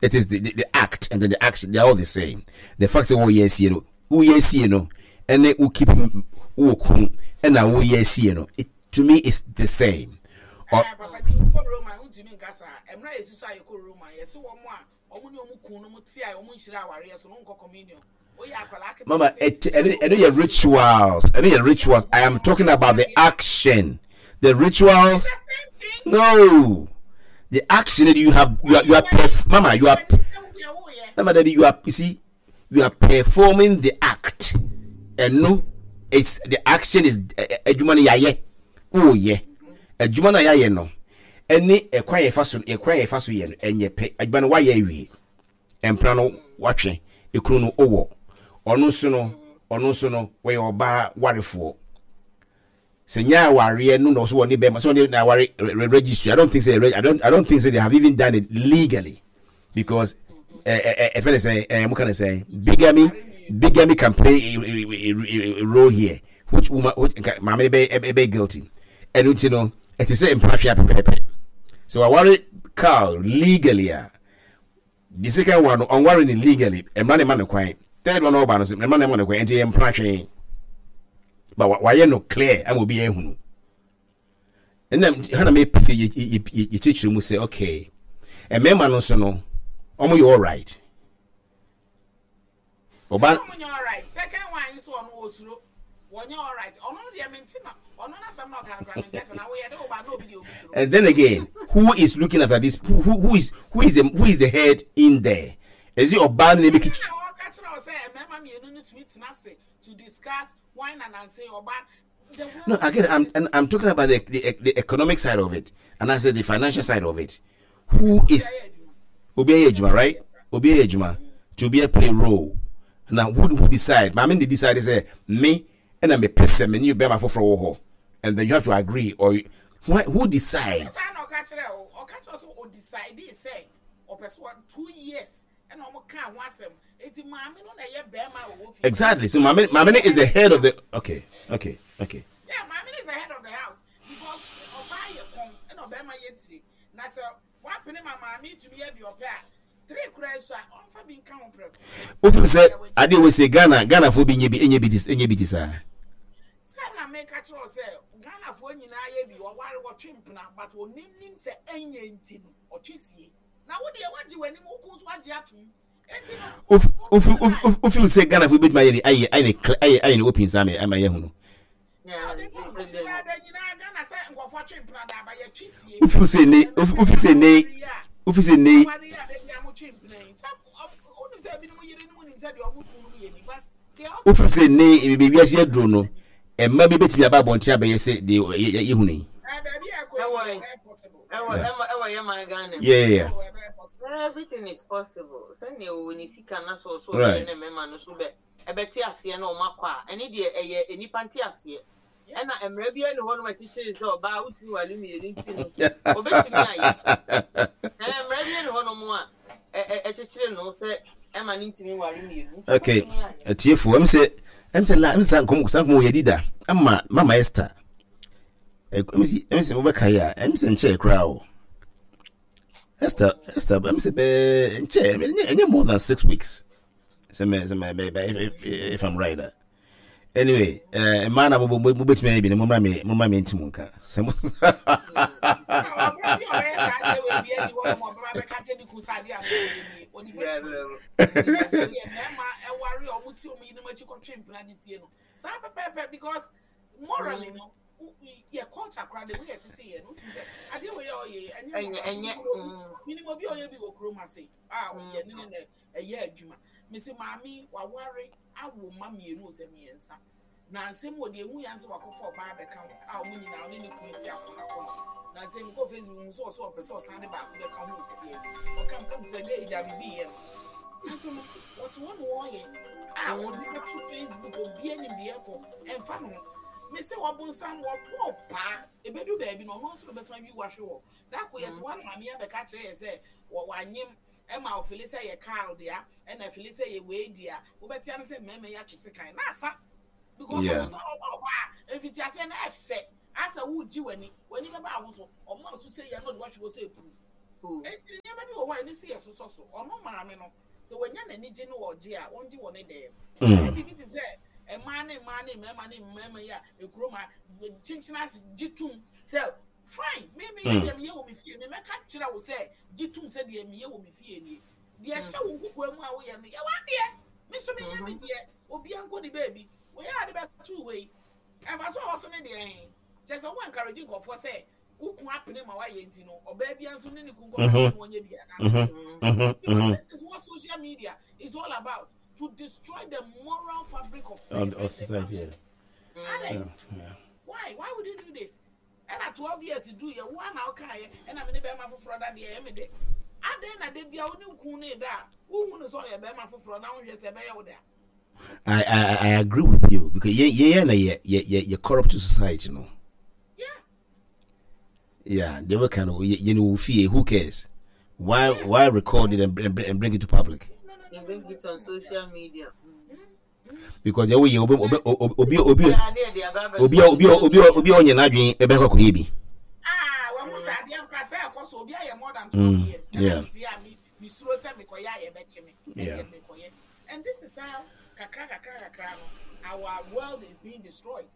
It is the act and then the action, they are all the same. The fact sɛ wɔyɛ asie no, woyɛ asie no, ɛne wo keep wowɔ kunu ɛna woyɛ asie no, it, to me it's the same. Or, papa di wokɔ Roma wontumi nka saa. Mmerɛ a yɛsusu a yɛkɔ Roma yɛse wɔn a wɔn ne wɔn kun no mo te a wɔn nhyira awareɛ so no wonkɔ communion. Mama, ɛno yɛ rituals. Ɛno yɛ rituals. I am talking about the action. The rituals. No. The action that you have, you are, perf- Mama, you are, Mama, Debbie, you are, you see, you are performing the act. And no, it's the action is, adwuma no yɛayɛ. Oh, yeah. Adwuma no yɛayɛ no. Ɛne ɛkwan yɛfa so, ɛkwan yɛfa so yɛ no, ɛnyɛ pɛ. Adwuma no wayɛ awie. Mpena no watwe, ekunu no owɔ. Ɔno nso no, ɔno nso no, wɔyɛ ɔbaa warefoɔ. Sɛ nyɛ awareɛ no na ɔso wɔne bɛrima, sɛ ɔne na aware registry. I don't think say I don't think say they have even done it legally because ɛfɛ ne sɛ ɛɛ mo ka ne sɛ bigamy can play a role here which woman which maame bɛ ɛbɛ guilty. Ɛno nti no ɛte sɛ mpena hwɛ apɛpɛɛpɛ. Sɛ waware Carl legally a. The second one no ɔnware no legally, mmara na ɛma no kwan. Third one ɔba no so mmara na ɛma no kwan, nti ɛyɛ mpena hwee. But wayɛ no clear ama obi ahunu. Ɛna ha na mepɛ sɛ yɛkyerɛkyerɛ mu sɛ okay, mmarima no nso no, wɔn yɛ all right. Ɔba. Ɔmo nyɛ alright. Second one yi nso ɔno osuro. Wɔnyɛ alright. Ɔno no deɛ mente na ɔno n'asɛm na ɔka no koraa mente ase na woyɛ de wo ba na obi deɛ obi suro. And then again, who is looking after this? Who is who is the who is the head in there? Is it ɔbaa no na emeki? Ɛna ɔka kyerɛ wo sɛ mmarima mmienu no tumi tena ase to discuss why na nanse ɔbaa. No, again, I'm talking about the economic side of it, and I said the financial side of it. Who is obi ayɛ adwuma, right? Obi ayɛ adwuma to be a play role. Now, who decide? Maame de decide sɛ me ɛna me pɛ sɛ me ne bɛrima foforɔ wɔ hɔ, and then you have to agree or who decides? Saa na ɔka kyerɛ o, ɔka kyerɛ sɛ o decide sɛ ɔpɛ so 2 years ɛna ɔmo ka ho asɛm. Eti maame no na ɛyɛ bɛrima a ɔwɔ fie. Exactly. So maame is the head of the. Okay. Yeah, maame is the head of the house because ɔbaa yɛ kɔn ɛna ɔbɛrima yɛ tire. Na sɛ wapene ma maame tumi yɛ deɛ ɔpɛ a, three kura so a ɔnfa bi nka ho prɛko. Wofin sɛ adeɛ wɔ sɛ Ghanafoɔ bi nye bi enye bi ti enye bi ti saa. Sɛ na meka kyerɛ wo sɛ Ghanafoɔ nyinaa yɛ bi, ɔware wɔtwe mpena but onim nim sɛ ɛnyɛ nti no ɔtwe sie. Na wo deɛ wagye w'anim, wo kun nso agye atom. Enti no, Wofin sɛ Ghanafoɔ bi betumi ayɛ ne ayɛ ayɛ ne ayɛ ayɛ ne open saa ama yɛ hu no. Wofin sɛ ne wofin sɛ ne wofin sɛ ne. Wofin sɛ ne baabi wiase aduro no mma bi betumi aba abɔnten abɛyɛ sɛ deɛ yɛhu no yi. Ɛwɔ yɛ man Ghana mu. Yeah. Everything is possible. Sɛnea ɔwɔ ne sika na so ɔso ɔbɛyɛ ne mmarima no so bɛ ɛbɛte aseɛ na wɔn akɔ a, ɛne deɛ ɛyɛ nnipa nte aseɛ. Ɛna mmerɛ biara ni hɔ nom akyekyere sɛ ɔbaa wotumi wale mmienu nti no obetumi ayɛ. Ɛɛ mmerɛ biara ni hɔ nom a ɛkyekyere no sɛ ɛma no ntumi nware mmienu. Okay, atiefo, ɛm sɛ la ɛm sɛ saa nkɔm wɔ yɛdi da ama Mama Esther. Ɛm sɛ wobɛka yi a ɛm sɛ nkyɛɛ koraa o. Esther ɛm sɛ bɛɛ nkyɛɛ ɛnyɛ more than 6 weeks. Sɛ mɛ if I'm right. Anyway, mmaa na mobɛtumi ayɛ bi no mommra me nti mu nka sɛ mo. Ɔbra bi a ɔbɛyɛ saa adeɛ wɔ bi ani hɔ nom ɔbɛba bɛka kyerɛ ne kun sɛ adeɛ a meyɛ nie ɔde bɛsi nti sɛ sɛdeɛ mmarima ɛware a ɔmo si ɔmo yerenom akyi kɔtwe mpena de sie no saa pɛpɛɛpɛ because morally no yɛ culture koraa de woyɛ tete yɛ no wotumi sɛ adeɛ wɔ yɛ ɔyɛ ɛnyɛ ɛnyɛ minim obi a ɔyɛ bi wɔ kurom ase a yɛne ne na ɛyɛ adwuma mesi maame waware awo mma mmienu sɛ mmiɛnsa na nsɛm wɔ deɛ ehu yan sɛ wakɔfa ɔbaa bɛka ho a wɔn nyinaa ɔne ne kun ti akɔnɔ akɔnɔ na nsɛm kɔ Facebook ho sɛ ɔsɛ ɔpɛ sɛ ɔsan de baako bɛka ho sɛ deɛ ɔka mu kam sɛ gay gya bibi yɛ no nso no wɔte hɔ na wɔreyɛ a wɔde bɛto Facebook obi anim deɛ ɛkɔ ɛmfa no ho mese wɔbonsam wɔbɔ paa ebedu baabi na ɔno nso na ɔbɛsan wi wahwe hɔ dako yɛte hɔ na maame abɛka kyerɛ yɛ sɛ wɔ wanyem ɛma ɔfele sɛ yɛ Carl dea ɛna ɛfele sɛ yɛ wei dea wobɛtea no sɛ mmarima yi atwe sekan na asa because ɔmo nso ɔba ɔba a mfiti aseɛ no ɛfɛ asɛ wogye w'ani w'ani bɛba aho so ɔmo a so sɛ yɛ no ɔde wahwe hɔ sɛ epu. o. Enti nneɛma bi wɔ hɔ a ɛne sɛ yɛsosɔ so. Ɔno maame no, sɛ wanya n'anigye ne ɔgye a, ɔngye wɔ ne dɛm. Ɛyɛ biribi te sɛ mmaa ne mmaa ne mmarima ne mmarima yi a ekurom ha kyenkyena ase gye tom sɛ fine me meyɛ deɛ meyɛ wɔ me fie me mɛka kyerɛ wo sɛ gye tom sɛ deɛ meyɛ wɔ me fie nie. Deɛ ɛhyɛ wo nkokoa mu a woyɛ no yɛ w'adeɛ. Me nso menyɛ me deɛ. Obiara nkɔ ne baabi. Wei a de bɛto wei. Ɛmfa so a ɔwɔ so ne deɛ he? Kyerɛ sɛ wo encourage nkurɔfoɔ sɛ wo kun apene ma wayɛ nti no ɔbaa bia nso ne ne kun kɔka sɛ no ɔnyɛ bi anaa? Because this is what social media is all about, to destroy the moral fabric of, of society. Yeah. Adɛn? Yeah. Why? Why would you do this? Ɛna 12 years du yɛ wo ana wokaeɛ ɛna me ne bɛrima foforɔ da deɛ ɛyɛ me dɛ. Adɛn na da bia wo ne wo kun ne da a wohu no sɛ ɔyɛ bɛrima foforɔ na wohwɛ sɛ ɛbɛyɛ wo dɛ a? I agree with you because yeah yeah yeah yeah yeah yeah corrupt society no. Yeah. Yeah, they were kind of you know who cares? Why record it and bring it to public? No, no, no, And bring it on social media. Because they will obi obi obi obi obi obi obi obi onye n'adwene ebe akɔ akɔyɛ bi. Ah, wɔn mo sɛ adeɛ nkora sɛ ɛkɔ so obi ayɛ more than 12 years. Yeah. Mesuro sɛ mekɔyɛ a yɛbɛkye me. Ɛdeɛ mekɔyɛ. And this is how kakra kakra kakra no our world is being destroyed.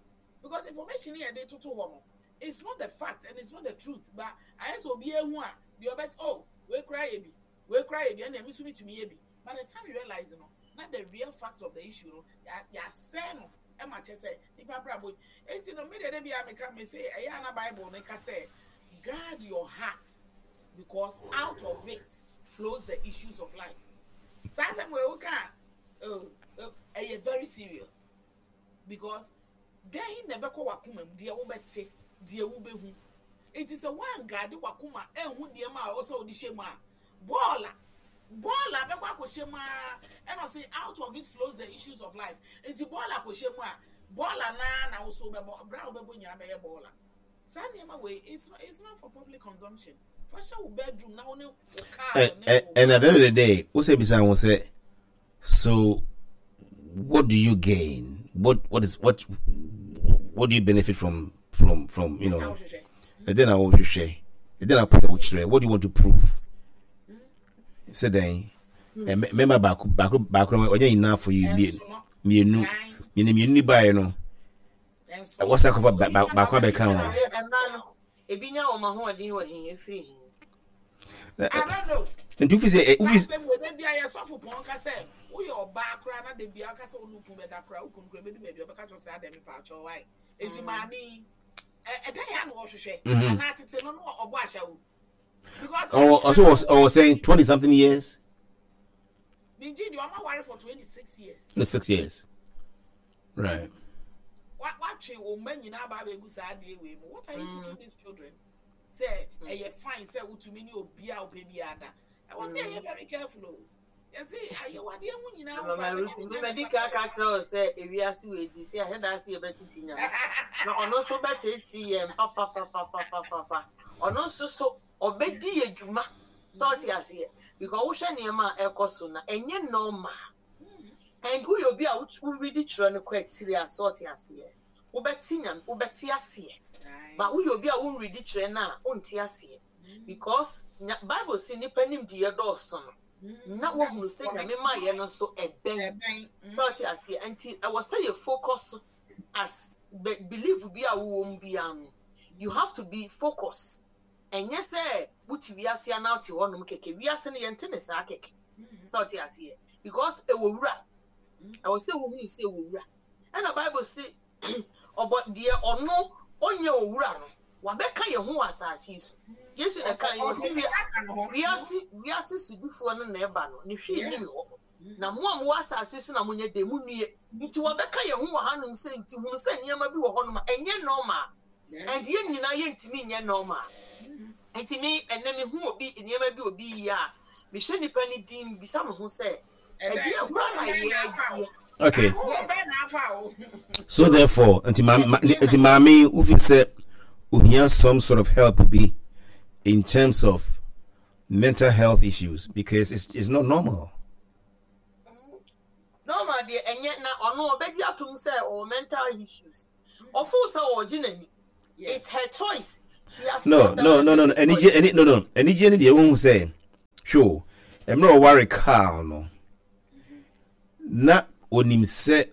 Because information yɛ de toto hɔ no, it's not the fact and it's not the truth. But ayɛ sɛ obi ehu a deɛ ɔbɛt oh wei kora yɛ bi wei kora yɛ bi ɛna ɛmi nso mi tumi yɛ bi. By the time you realize no, na the real fact of the issue no yɛasɛe no ɛma kyɛ sɛ nipa abrabɔ eti no mi deɛ de bi a meka me se ɛyɛ ana Bible no ka sɛ guard your heart because out of it flows the issues of life. Saa asɛm wei woka a ɛyɛ very serious because dɛn na ɛbɛkɔ w'akoma mu, deɛ wobɛte, deɛ wobɛhu. Nti sɛ woangaade w'akoma anhu nneɛma a ɛwɔ sɛ wode hyɛ mu a, bɔɔla bɔɔla bɛkɔ akɔhyɛ mu ara ɛna ɔse out of it flows the issues of life. Nti bɔɔla kɔhyɛ mu a, bɔɔla naa na wo so wobɛbɔ, berɛ a wobɛbɔ nyinaa bɛyɛ bɔɔla. Saa nneɛma wei, it's not, it's not for public consumption. Fa hyɛ wo bedroom na wo ne wo car And, ne and, wo and at the end of the day, who say beside one say, so what do you gain? What is what do you benefit from you know? And then I will share. And then I put a What do you want to prove? Say then, remember back back back enough for you. Me me me me me me no. Ɛwɔ sɛ akɔfa baako abɛka ho. Ebi nya wɔn ahoɔden wɔ he efiri he. I don't know. Nti wofi sɛ wofi. Sɛ asɛm wɔ de bia yɛ sɔfo pɔn ka sɛ woyɛ ɔbaa koraa na de bia ɔka sɛ wo ne okunu bɛda koraa wo kunu koraa bɛdu baabi ɔbɛka kyerɛ sɛ adɛn mepa akyɛw wae. Enti maame yi ɛdɛn ya na ɔhwehwɛ anaa tete no no ɔbɔ ahyɛwo. Because ɔwɔ ɔso ɔwɔ sɛn 20 something years. Mengye di ɔma ware for 26 years. 26 years. Right. Watwe wo mma nyinaa aba abɛgu saa adeɛ wei mu. What are you teaching these children? Sɛ ɛyɛ fine sɛ wotumi ne obi a wopɛ bi ada. Ɛwɔ sɛ ɛyɛ very careful o. Yɛse ayɛ wadeɛ ho nyinaa wo Mama Ruth, me madi kan ka kyerɛ wo sɛ ewiase wei ti sɛ yɛahyɛ da ase yɛbɛtete nyame. Na ɔno nso bɛtete yɛn papapapapapa. Ɔno nso so ɔbɛdi yɛ dwuma. Sɛ ɔte aseɛ. Because wohwɛ nneɛma a ɛkɔ so na ɛnyɛ normal. And woyɛ obi a woredi twerɛ no kɔ akyiri a sɛ ɔte aseɛ. Wobɛte nyame wobɛte aseɛ. But woyɛ obi a wonredi twerɛ no a wonte aseɛ. Because nya Bible se nipa nimdeɛ dɔɔso no na wɔhunu sɛ nyame ma yɛ no nso ɛbɛn. Sɛ ɔte aseɛ. Nti ɛwɔ sɛ yɛ focus as belief bi a wowɔ mu biara no you have to be focus. Ɛnyɛ sɛ wote wiase anaa wote hɔnom kɛkɛ. Wiase no yɛnte ne saa kɛkɛ. Sɛ ɔte aseɛ. Because ɛwɔ wura. Ɛwɔ sɛ wohunu sɛ ɛwɔ wura. Ɛna Bible se ɔbɔ deɛ ɔno ɔnyɛ owura no wabɛka yɛn ho wɔ asase yi so. Yesu na ɛka yɛn ɔte wiase wiase sodifoɔ no na ɛba no ne hwee nni me hɔ. Na mo a mowɔ asase so na monyɛ dɛn monnue. Nti wɔbɛka yɛn ho wɔ hanom sɛ nti hunu sɛ nneɛma bi wɔ hɔnom a ɛnyɛ normal. And yɛn nyinaa yɛntumi nyɛ normal. Nti me ɛnɛ mehu obi nneɛma bi obi yɛ a mehwɛ nipa no din bisa me ho sɛ ɛdeɛ koraa na yɛagye. Okay. So therefore, nti nti maame wofi sɛ ohia some sort of help bi in terms of mental health issues because it's not normal. Normal deɛ ɛnyɛ na ɔno ɔbɛgye atom sɛ ɔwɔ mental issues. Ɔfoo sɛ ɔregye n'ani. It's her choice. She has No, sat down no, and no, no, no. written for Anigye, it. ani, no, no. Anigye ne deɛ wohu sɛ, hwɛ o, mmerɛ ɔware Carl no, na onim sɛ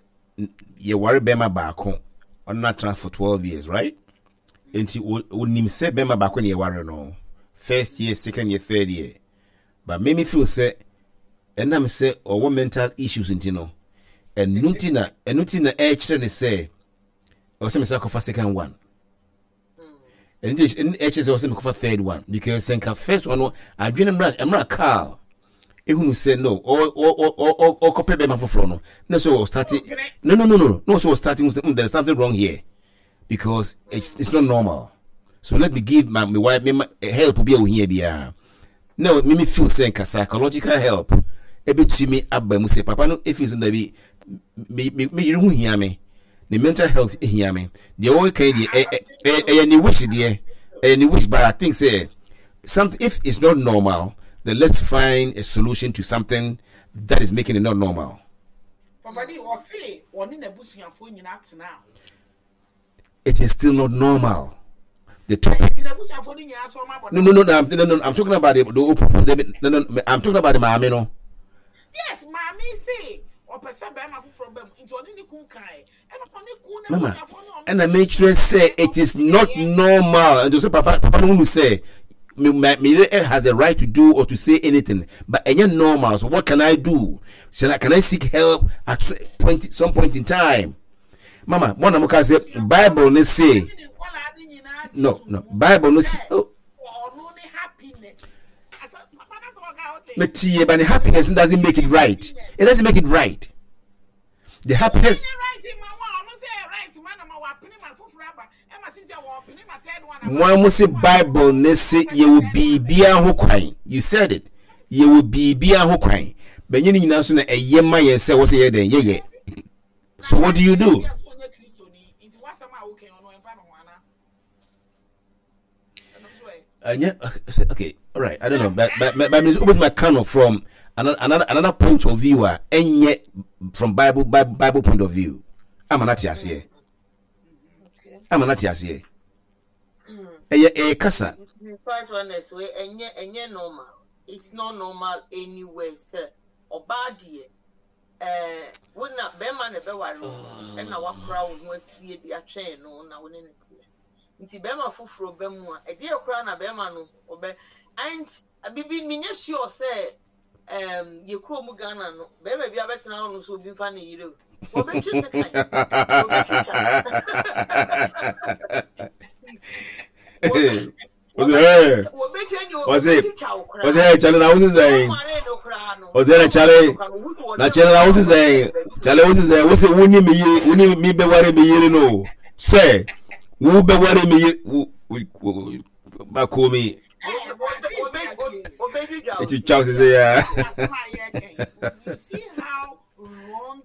yɛware bɛrima baako, ɔno no atena for 12 years, right? Nti onim sɛ bɛrima baako ne yɛware no, first year, second year, third year. But me me feel sɛ ɛnam sɛ ɔwɔ mental issues nti no, ɛno nti na ɛno nti na ɛkyerɛ ne sɛ ɔsɛ me sɛ akɔfa second one. Ɛno nti ɛkyerɛ sɛ ɔsɛ me kɔfa third one because sɛ nka first one no adwene mmra mmra Carl ehunu sɛ no ɔkɔpɛ bɛrima foforɔ no na sɛ ɔstarte no no no no na ɔsɛ ɔstarte hu sɛ mm there is something wrong here because it's not normal so let me give my my wife me my help bi a ohia biara na me me feel sɛ nka psychological help ebetumi aba mu sɛ papa no efi sɛ dabi me me me yere ho hia me ne mental health hia me deɛ wɔka yi deɛ ɛyɛ ɛyɛ ne wish deɛ ɛyɛ ne wish but I think sɛ something if it's not normal then let's find a solution to something that is making it not normal. Papa di ɔse ɔne n'abusuafoɔ nyinaa tenaa hɔ. It is still not normal. The topic. No, no, no, no, no, no, I'm talking about the open. No, no, I'm talking about the maame no. Yes, maame se ɔpɛ sɛ bɛrima foforɔ bɛ mu nti ɔne ne kun kae ɛna ɔne kun na Mama, ɛna mekyerɛ sɛ it is not normal. And to say papa, papa no hunu sɛ me me me has a right to do or to say anything, but ɛnyɛ normal. So what can I do? Shall I, can I seek help at point some point in time? Mama, mo na mo ka sɛ Bible ne se no no Bible no se oh. Metie, but the happiness doesn't make it right. It doesn't make it right. The happiness. Mo a mo se Bible ne se yɛwɔ biribiara ho kwan. You said it. Yɛwɔ biribiara ho kwan. Bɛnyɛ ne nyinaa nso na ɛyɛ ma yɛn sɛ wɔsɛ yɛ dɛn yɛyɛ. So what do you do? ɛnyɛ okay all right i don't know but but but but wobɛtumi aka no from another another another point of view a ɛnyɛ from bible bible bible point of view ama no ate aseɛ ama no ate aseɛ ɛyɛ ɛyɛ kasa. quite honest wey ɛnyɛ ɛnyɛ normal it's not normal anywhere sɛ ɔbaa deɛ ɛɛ wo na bɛrima na ɛbɛware wo ɛna wakora wo ho asie de atwɛn no na wo ne ne teɛ. Nti bɛrima foforɔ ba mu a, ɛdeɛ koraa na bɛrima no ɔbɛ and bibi menyɛ sure sɛ um, yɛ kuro mu Ghana no bɛrima bi abɛtena hɔ no so obi nfa ne yere o wɔbɛtwe sekan wɔbɛtwitwa ɔse ɔse ɛ kyale na wosi sɛn ɔse ɛ kyale na kyale na wosi sɛn kyale wosi sɛn wosi wo ni mi yere wo ni mi bɛ ware mi yere no sɛ wo bɛ ware mi yere wo wo bako mi eti twa sese ya. You see how wrong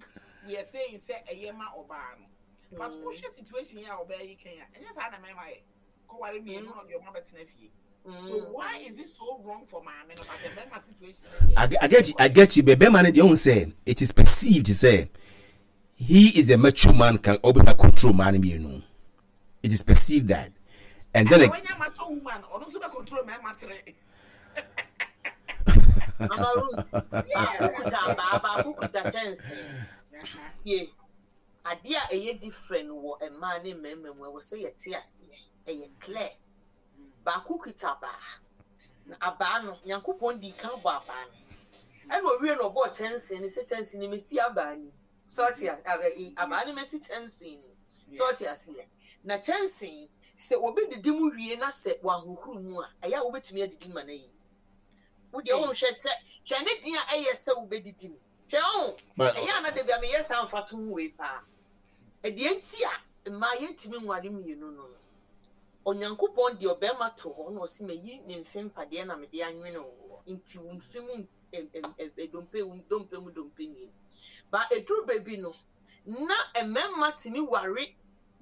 we are saying sɛ ɛyɛ ma ɔbaa no but wohwɛ situation yi a ɔbaa yi kɛn a ɛnyɛ saa na mɛma yɛ. kɔware mmienu na ɔde ɔmo abɛtena fie so why is it so wrong for maame no but bɛrima situation I, I get you, I get you but bɛrima no deɛ ɔhu sɛ it is perceived sɛ he is a mature man can ɔbɛma control maa no mmienu it is perceived that and then like, when mature woman ɔno nso bɛ control mɛrima tere. Mama Ruth, baako kuta abaa, baako kuta kyɛnsee. Yie. Adeɛ a ɛyɛ different wɔ mmaa ne mmarima mu, ɛwɔ sɛ yɛte aseɛ. Ɛyɛ clear. Baako kita abaa. Na abaa no, Nyankopɔn dii kan bɔ abaa no. Ɛna owie no ɔbɔɔ kyɛnsee no sɛ kyɛnsee no mɛsi abaa no mu. Sɛ ɔte ase, abaa no mɛsi kyɛnsee no mu. Sɛ ɔte aseɛ. Na kyɛnsee, sɛ obi didi mu wie na sɛ wanhohoro mu a, ɛyɛ a wobɛtumi adidi ma no ayie. Wo deɛ wonhwɛ sɛ, hwɛ ne den a ɛyɛ sɛ wobɛdidi mu. Hwɛ o, ɛyɛ a na da bi a meyɛ saa mfatoho wei paa. Ɛdeɛ nti a mmaa yɛntumi nware mmienu no no, Onyankopɔn de ɔbarima to hɔ na ɔse mayi ne mfe mpadeɛ na mede anwene wo, nti wo mfe mu dompe, wo dompe mu dompe nie. Ba ɛduru baabi no, na mmarima tumi ware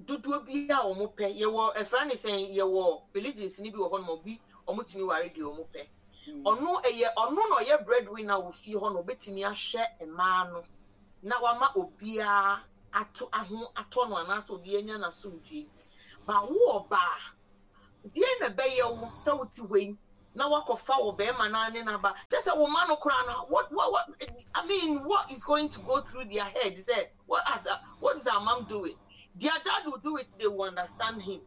dodoɔ bi a wɔn pɛ. Yɛwɔ ɛfra ne sɛn, yɛwɔ religions no bi wɔ hɔ nom, obi wɔn tumi ware deɛ wɔn pɛ. Ɔno ɛyɛ ɔno na ɔyɛ breadwinner wɔ fie hɔ na ɔbɛtumi ahwɛ mmaa no na wama obiara ato aho atɔ no anaasɛ obiara anya n'asomdwoe. Ba wo ɔbaa, Deɛn na ɛbɛyɛ wo sɛ wote hɔ yi na woakɔfa wo barima no ara ne no aba? Kyerɛ sɛ wo mma no koraa no, what, what, what, I mean, what is going to go through their head sɛ, what, has, what is our mom doing? Their dad will do it, they will understand him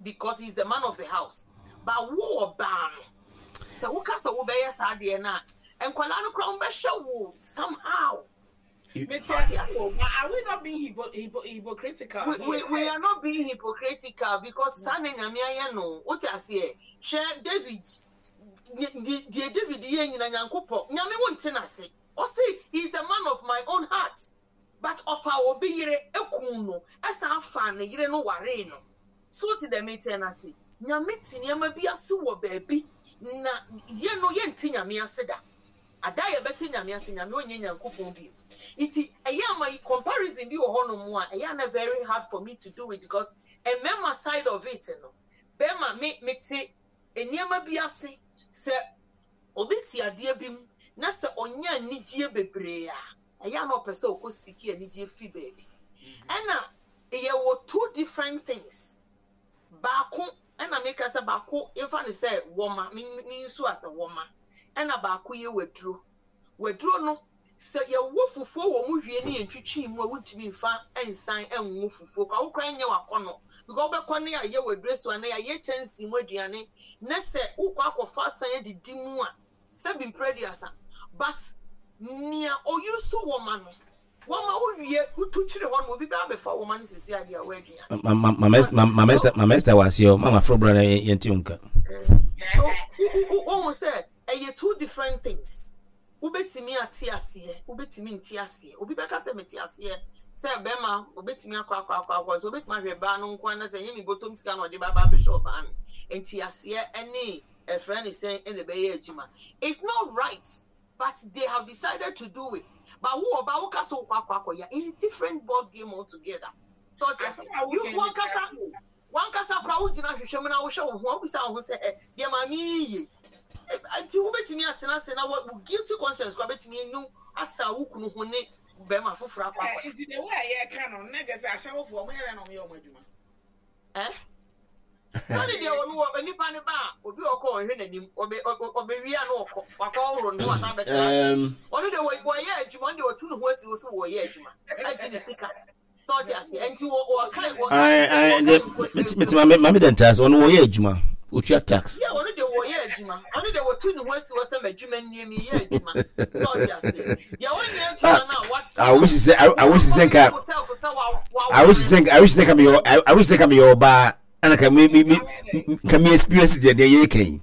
because he's the man of the house. But wo ɔbaa no, sɛ woka sɛ wobɛyɛ saa adeɛ no a, nkwadaa no koraa wɔbɛhwɛ wo somehow. Mete ase o, but are we not being hypo, hypo, hypocritical we, here? We, we are not being hypocritical because saa na Nyame ayɛ no. Wote aseɛ? Hwɛ David, deɛ David yɛ nyina Nyankopɔn, Nyame wo nte n'ase. Ɔse he is a man of my own heart. But ɔfaa obi yere kuu no, ɛsan faa ne yere no waree no. So wote deɛ meteɛ no ase? Nyame te nneɛma bi ase wɔ baabi na yɛ no yɛnte Nyame ase da. Ada a yɛbɛte Nyame ase, Nyame ɔnyɛ Nyankopɔn bio. Nti ɛyɛ a ma comparison bi wɔ hɔ nom a ɛyɛ a na very hard for me to do it because mmarima side of it no, bɛrima me mete nneɛma bi ase, sɛ obi te adeɛ bi mu na sɛ ɔnya anigyeɛ bebree a, ɛyɛ a na ɔpɛ sɛ ɔkɔ seek anigyeɛ firi baabi. Ɛna yɛwɔ two different things. Baako ɛna meka sɛ baako yɛmfa no sɛ wɔma, me me nsu asɛ wɔma, ɛna baako yɛ waduro. Waduro no, sɛ yɛwɔ fufuo wɔ mu wie ne yɛntwitwi mu a wontumi mfa nsan nwo fufuo koraa, wo koraa nyɛ w'akɔnnɔ because wobɛkɔ ne yɛayɛ waduro si hɔ anaa yɛayɛ kyɛnsee mu aduane na sɛ wokɔ akɔfa asan adidi mu a, sɛbi mprɛ aduasa but nea ɔuse wɔma no Wɔma wo wie, wotu twere hɔ no, obi bɛ abɛfa wɔma no sisi adeɛ a wɔaduane. Mama Esther wɔ aseɛ o, mama frɛ bra na yɛnte wo nka. So wohu sɛ ɛyɛ two different things. Wobɛtumi ate aseɛ, wobɛtumi nte aseɛ. Obi bɛka sɛ mete aseɛ sɛ bɛrima obɛtumi akɔ akɔ akɔ akɔ sɛ obɛtumi ahwɛ baa no nko ara sɛ ɛnyɛ me bɔtɔm sika na ɔde ba ba abɛhwɛ ɔbaa no. Nti aseɛ ɛne ɛfrɛ ne sɛn ɛna ɛbɛyɛ adwuma. It's not right. But they have decided to do it but wo ɔbaa wo ka sɛ wokɔ akɔ akɔ yɛ a different ball game altogether so ɔte ase you wankasa wankasa koraa wogyina hwehwɛ mu na wohwɛ wo ho a wobisa wo ho sɛ ɛ deɛ maame yi yie nti wobɛtumi atena ase na wo guilty conscience koraa bɛtumi anu asa wo kunu ho ne bɛrima foforɔ akɔ akɔ. Nti the way a yɛka no na kyerɛ sɛ ahyɛwofoɔ wɔn yɛ dɛn na wɔn yɛ wɔn adwuma. Eh? Sani deɛ ɔno wɔ nipa ne ba a obi ɔkɔ ɔnhwɛ n'anim ɔbɛ ɔbɛwie a na ɔkɔ wakɔ ɔhoro ne ho asan bɛtena ase ɔno deɛ wɔyɛ adwuma ɔno deɛ ɔtu ne ho asi so wɔyɛ adwuma agye ne sika sɛ ɔte aseɛ nti wɔka wɔka mete maame maame dɛ ntaase ɔno wɔyɛ adwuma otua tax. yɛ ɔno deɛ wɔyɛ adwuma ɔno deɛ wɔtu ne ho asi hɔ sɛ m'adwuma nie meyɛ adwuma sɛ ɔte aseɛ deɛ ɔnyɛ adwuma no a wa I wish sɛ I wish sɛ nka I wish sɛ I wish sɛ nka meyɛ I wish sɛ nka meyɛ ɔbaa ɛna ka me me me nka me experience deɛ deɛ yɛ kan yi.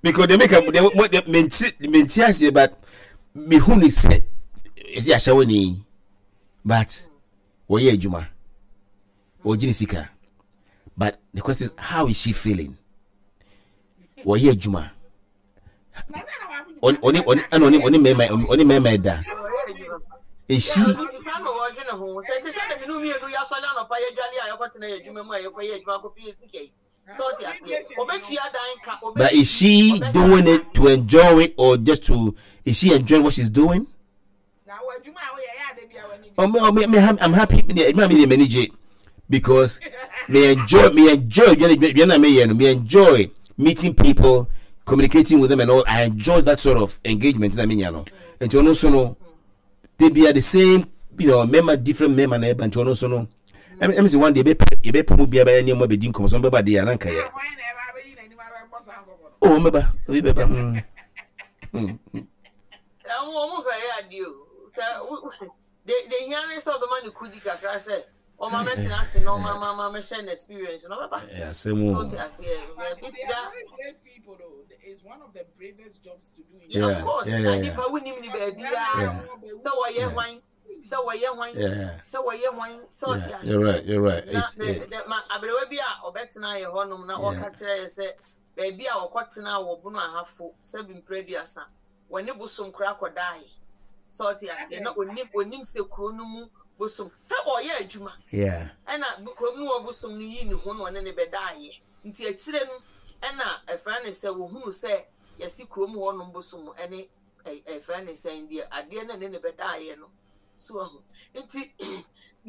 Because deɛ meka deɛ mo deɛ mente mente aseɛ but mehu ne sɛ ɛsɛ ahyɛwɔ ni but wɔyɛ adwuma wɔgye ne sika but the question is how is she feeling? Wɔyɛ adwuma ɔne ɔne ɛna ɔne ɔne mmarima ɔne mmarima ɛda esi. But is she doing it to enjoy it or just to is she enjoying what she's doing? Oh, me, oh, me, me, I'm happy. Me, me, me, me, me, because me enjoy, me enjoy, me, me enjoy meeting people, communicating with them, and all. I enjoy that sort of engagement. I mean, you know, and you know, no, they be at the same, you know, member different member, and you know, so no. ɛm sɛ one day yɛbɛpɛ mu bia bɛyɛ nneɛma bɛdi nkɔmmɔ sɛ ɔmbɛba deɛ ananka yɛ oh ɔmbɛba obi bɛba mm. mm. Ɛho wɔn fɛre adeɛ o. Sɛ wo de de hia ne sɛ ɔbɛma ne kudi kakra sɛ ɔma mɛtena ase na ɔma ma ma mɛhyɛ no experience na ɔbɛba. Ɛyɛ asɛm o. So te aseɛ. But they are very brave people though. It's one of the bravest jobs to do. In yeah, of course. Yeah, yeah, yeah. Nipa wunim ni baabi a sɛ wɔyɛ hwan sɛ wɔyɛ hwan sɛ wɔyɛ hwan sɛ ɔte aseɛ. You're right. You're right. Na ma aberewa bi a ɔbɛtena yɛ hɔnom na ɔka kyerɛ yɛ sɛ baabi a ɔkɔtena wɔ Bono Ahafo sɛbi mpere aduasa. Wɔne bosom koraa kɔdaeɛ. Sɛ ɔte aseɛ na onim onim sɛ kuro no mu bosom sɛ ɔyɛ adwuma. Yeah. Ɛna kuro mu wɔ bosom no yi ne ho na ɔne ne bɛdaeɛ. Nti akyire no ɛna ɛfrɛ ne sɛ wɔhunu sɛ yɛsi kuro mu hɔnom bosom ɛne ɛfrɛ ne sɛn deɛ adeɛ no ɛne ne bɛdaeɛ no. So ahu. Nti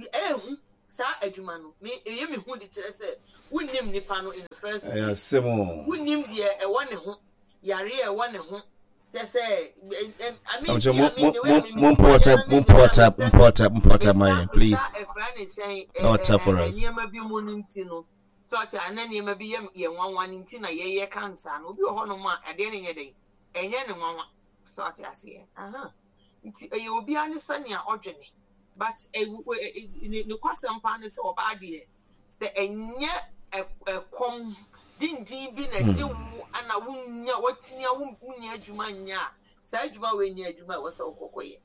Ɛyɛ hu saa adwuma no me ɛyɛ me hu de kyerɛ sɛ wonnim nipa no in the first Ɛyɛ place. asɛm o. Wonnim deɛ ɛwɔ ne ho, yareɛ a ɛwɔ ne ho. Kyerɛ sɛ ɛ I mean Mo me I mean mo the way mo a me mo me si mpɔ teɛ tap na mo me mpɔ deɛ a tap mepɛ mpɔ tap mpɔ tap mesa ma yɛn please. mesa ɛfra ne sɛn ɛ Power ɛ tap for ɛ us. nneɛma bi mu no nti no sɛ ɔte a na nneɛma bi yɛ yɛ nwanwa no nti na yɛyɛ kansa no. Obi wɔ hɔnom a adeɛ no nyɛ dɛn ɛnyɛ ne nwanwa sɛ ɔte aseɛ aha. Nti ɛyɛ obiara ne sɛnea ɔdwene but ne nokwasɛm paa ne sɛ ɔbaa deɛ sɛ ɛnyɛ ɛkɔm dindin bi na ɛde wo ana wonya watumi a wonya adwuma nyɛ a saa adwuma wei nyɛ adwuma a ɛwɔ sɛ wokɔkɔyɛ.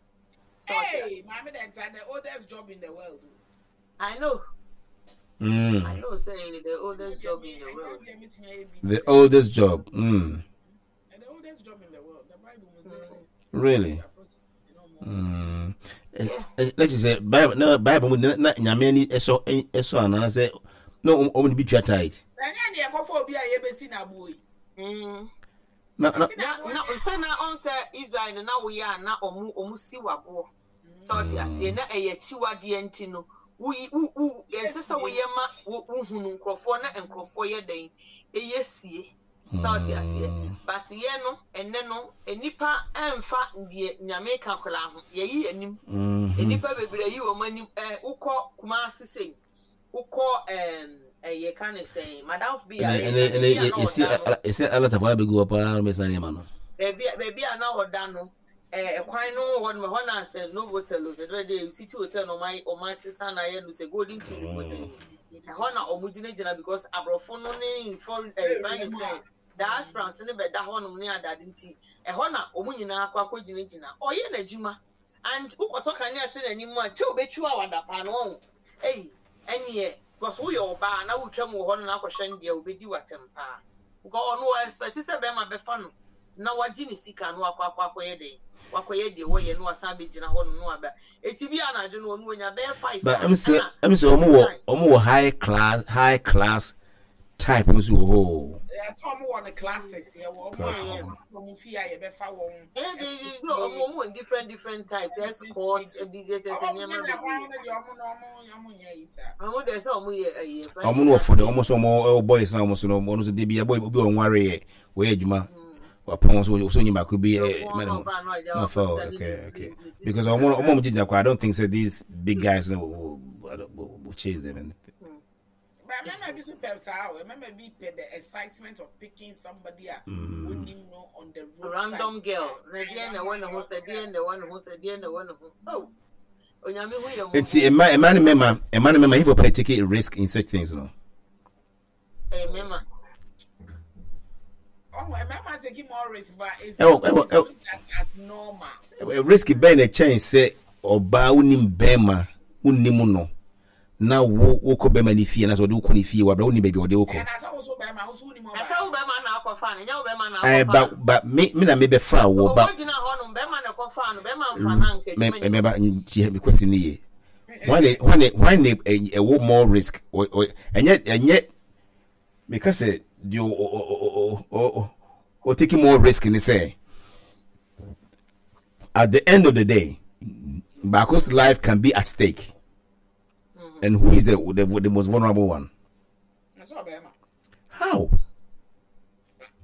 Sɛ ɔte Hey, aseɛ. Maame Denta, the oldest job in the world. I know. I know say the oldest job in the world. The oldest job. The oldest job in the world. The Bible will say. Really? Let's just say Bible na Bible mu na nyame ani ɛsɔ ɛsɔ anaa sɛ na wɔn de bi tua tithe. Ɛnyɛ deɛ ɛkɔfɔ obi a yɛbɛsi n'aboɔ yi. Na na na sɛ na ɔn sɛ Israel no na woyɛ a na ɔmo ɔmo si waboɔ sɛ ɔte aseɛ na ɛyɛ akyiwadeɛ nti no woyi wo wo ɛnsɛ sɛ woyɛ ma wo wohunu nkorɔfoɔ na nkorɔfoɔ yɛ dɛn ɛyɛ sie. Sɛ wote aseɛ? But yɛ no, ɛnnɛ no, nnipa ɛmfa deɛ Nyame ka koraa ho. Yɛyi yɛn anim. Nnipa bebree ayi wɔn anim. Ɛ, wokɔ Kumasi sei, wokɔ ɛɛm, ɛ, yɛka ne sɛn, madamfo bi yare, Ɛnɛ na ɛnɛ baabi a na esi ɔda no, esi alatafo na begu hɔ paa na bɛsan nneɛma no. baabi a, baabi a na ɔda no, ɛ, ɛkwan no wɔ hɔ nom, ɛhɔ na sɛ Novotel o, sɛ dɛ dɛ City Hotel na wɔn ayɛ, wɔn asesa na ayɛ no sɛ Golden Tulip o, Ɛhɔ na wɔn gyinagyina because aborɔfo no ne foreign ɛɛ fɛn ne sɛ diasporans no bɛda hɔnom ne adade nti ɛhɔ na wɔn nyinaa akɔ akɔ gyinagyina. Ɔyɛ n'adwuma and wokɔsɔ kanea to n'anim a twa obetwiw a wada paa no ɔho ei ɛneɛ because woyɛ ɔbaa na wotwam wɔ hɔ no na akɔhwɛ no deɛ obedi w'atɛm paa because ɔno ɔ expect sɛ bɛrima bɛfa no na wagye ne sika na wakɔ akɔ akɔyɛ dɛn wakɔyɛ deɛ wɔyɛ na wasan abɛgyina hɔ nom na waba eti bi anadwo no ɔno onya bɛyɛ 5 But a ɛm sɛ ɛna ɛm sɛ wɔn wɔ 9. wɔn wɔ high class high class type nso wɔ hɔ o. Ɛyɛ sɛ wɔn wɔ no classes yɛ wɔ wɔn a Classes wɔn no. wɔn fie a yɛbɛfa wɔn Ɛyɛ de ɛkɔ de sɛ ɔmo fie. ɔmo wɔ different different types escorts ebi de sɛ Wɔn nneɛma nyɛ na kwan bebree no deɛ wɔn no wɔn wɔn nyɛ yi saa. ɔmo deɛ sɛ ɔmo yɛ ɛyɛ fɛn Wɔn ne no wɔ fo de sase wɔn nso wɔn ɛwɔ boys na wɔn nso no wɔn nso de bi ɛbɔ obi wɔn nware yɛ wɔyɛ adwuma wapɔn so so nyi baako bi ɛ mɛ ne ho na fa okay okay because wɔn wɔn wɔn gyina kɔ I don't think say these big guys no will will will chase them and. But mmarima bi so pɛ saa o mmarima bi pɛ the excitement of picking somebody a wonim no on the road side. Random girl na deɛ na ɛwɔ ne ho sɛ deɛ na ɛwɔ ne ho sɛ deɛ na ɛwɔ ne ho oh onyame hu yɛ mmɔbɔ. Nti mma mma ne mmarima mma ne mmarima if you take a risk in such things no. Ɛyɛ mmarima. Oh, mmarima taking more risk but it's, ɛwɔ it's looked at as normal. Risk bɛn na ɛkyɛn sɛ ɔbaa wonim bɛrima wonim no na wo wokɔ bɛrima ne fie anaasɛ ɔde wokɔ ne fie wɔ abira wonim baabi a ɔde wokɔ. Ɛna sɛ woso bɛrima woso wonim ɔbaa. Ɛsɛ wo bɛrima na akɔfa no ɛnyɛ wo bɛrima na Ɛɛ akɔfa ba no. ba me me na me bɛfa wɔ ba. Ɔkɔ gyina hɔ nom bɛrima na ɛkɔfa no bɛrima nfa no anka Me adwuma ni me hɔ. ba nti me question ne ye. Hwan ne hwan ne hwan ne ɛwɔ more risk ɛnyɛ ɛnyɛ meka sɛ deɛ ɔ ɔ ɔ ɔ ɔ ɔ taking more risk ne sɛ at the end of the day baako's life can be at stake. And who is the most vulnerable one? How?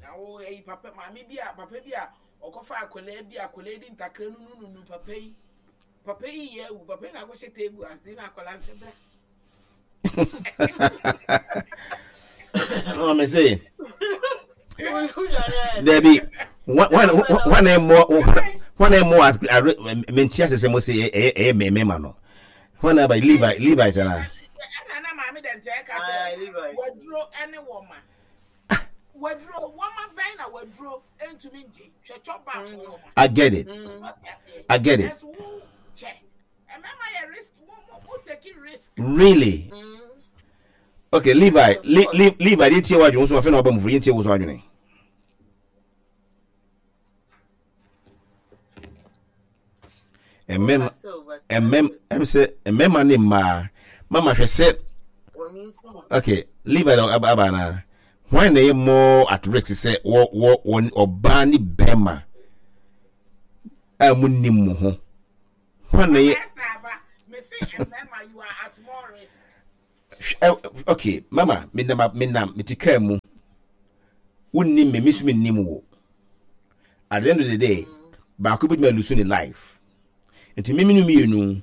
Na wo eyi papa maame bi a papa bi a ɔkɔfa akwadaa bi akwadaa di ntakra no no nunu papa yi papa yi yɛ awu papa yi na akɔhyɛ table ase na akwadaa nsɛ bra. No, me say. Debbie, one one more one more mente ase sɛ mo sɛ ɛyɛ ɛyɛ mmarima no wɔn aba Levi Levi sɛ na. Ɛna na maame dɛ nkyɛn ka sɛ waduro ɛne wɔn ma. Waduro wɔma bɛn na waduro ntumi ngye hwɛ twɔ baafo wɔma. I get it. I get it. Ɛso wo kyɛ ɛmɛma yɛ risk mo mo mo take risk. Really? Okay, Levi, Le, Le, Levi, deɛ tie w'adwene nso afei na waba mu firi yɛn tie wo so adwene. Mmɛma mmɛm ɛm sɛ mmɛma ne mmaa mama hwɛ sɛ okay Levi na aba aba na hwan na ɛyɛ more at risk sɛ wɔ wɔ wɔ ɔbaa ne bɛrima a mo nim mo ho hwan na ɛyɛ. Mese mmarima you are at Okay, mama, menam menam mete kaa mu. Wonnim me, me nso mennim wo. At the end of the day, baako bɛtumi alusu ne life. Nti me mene mmienu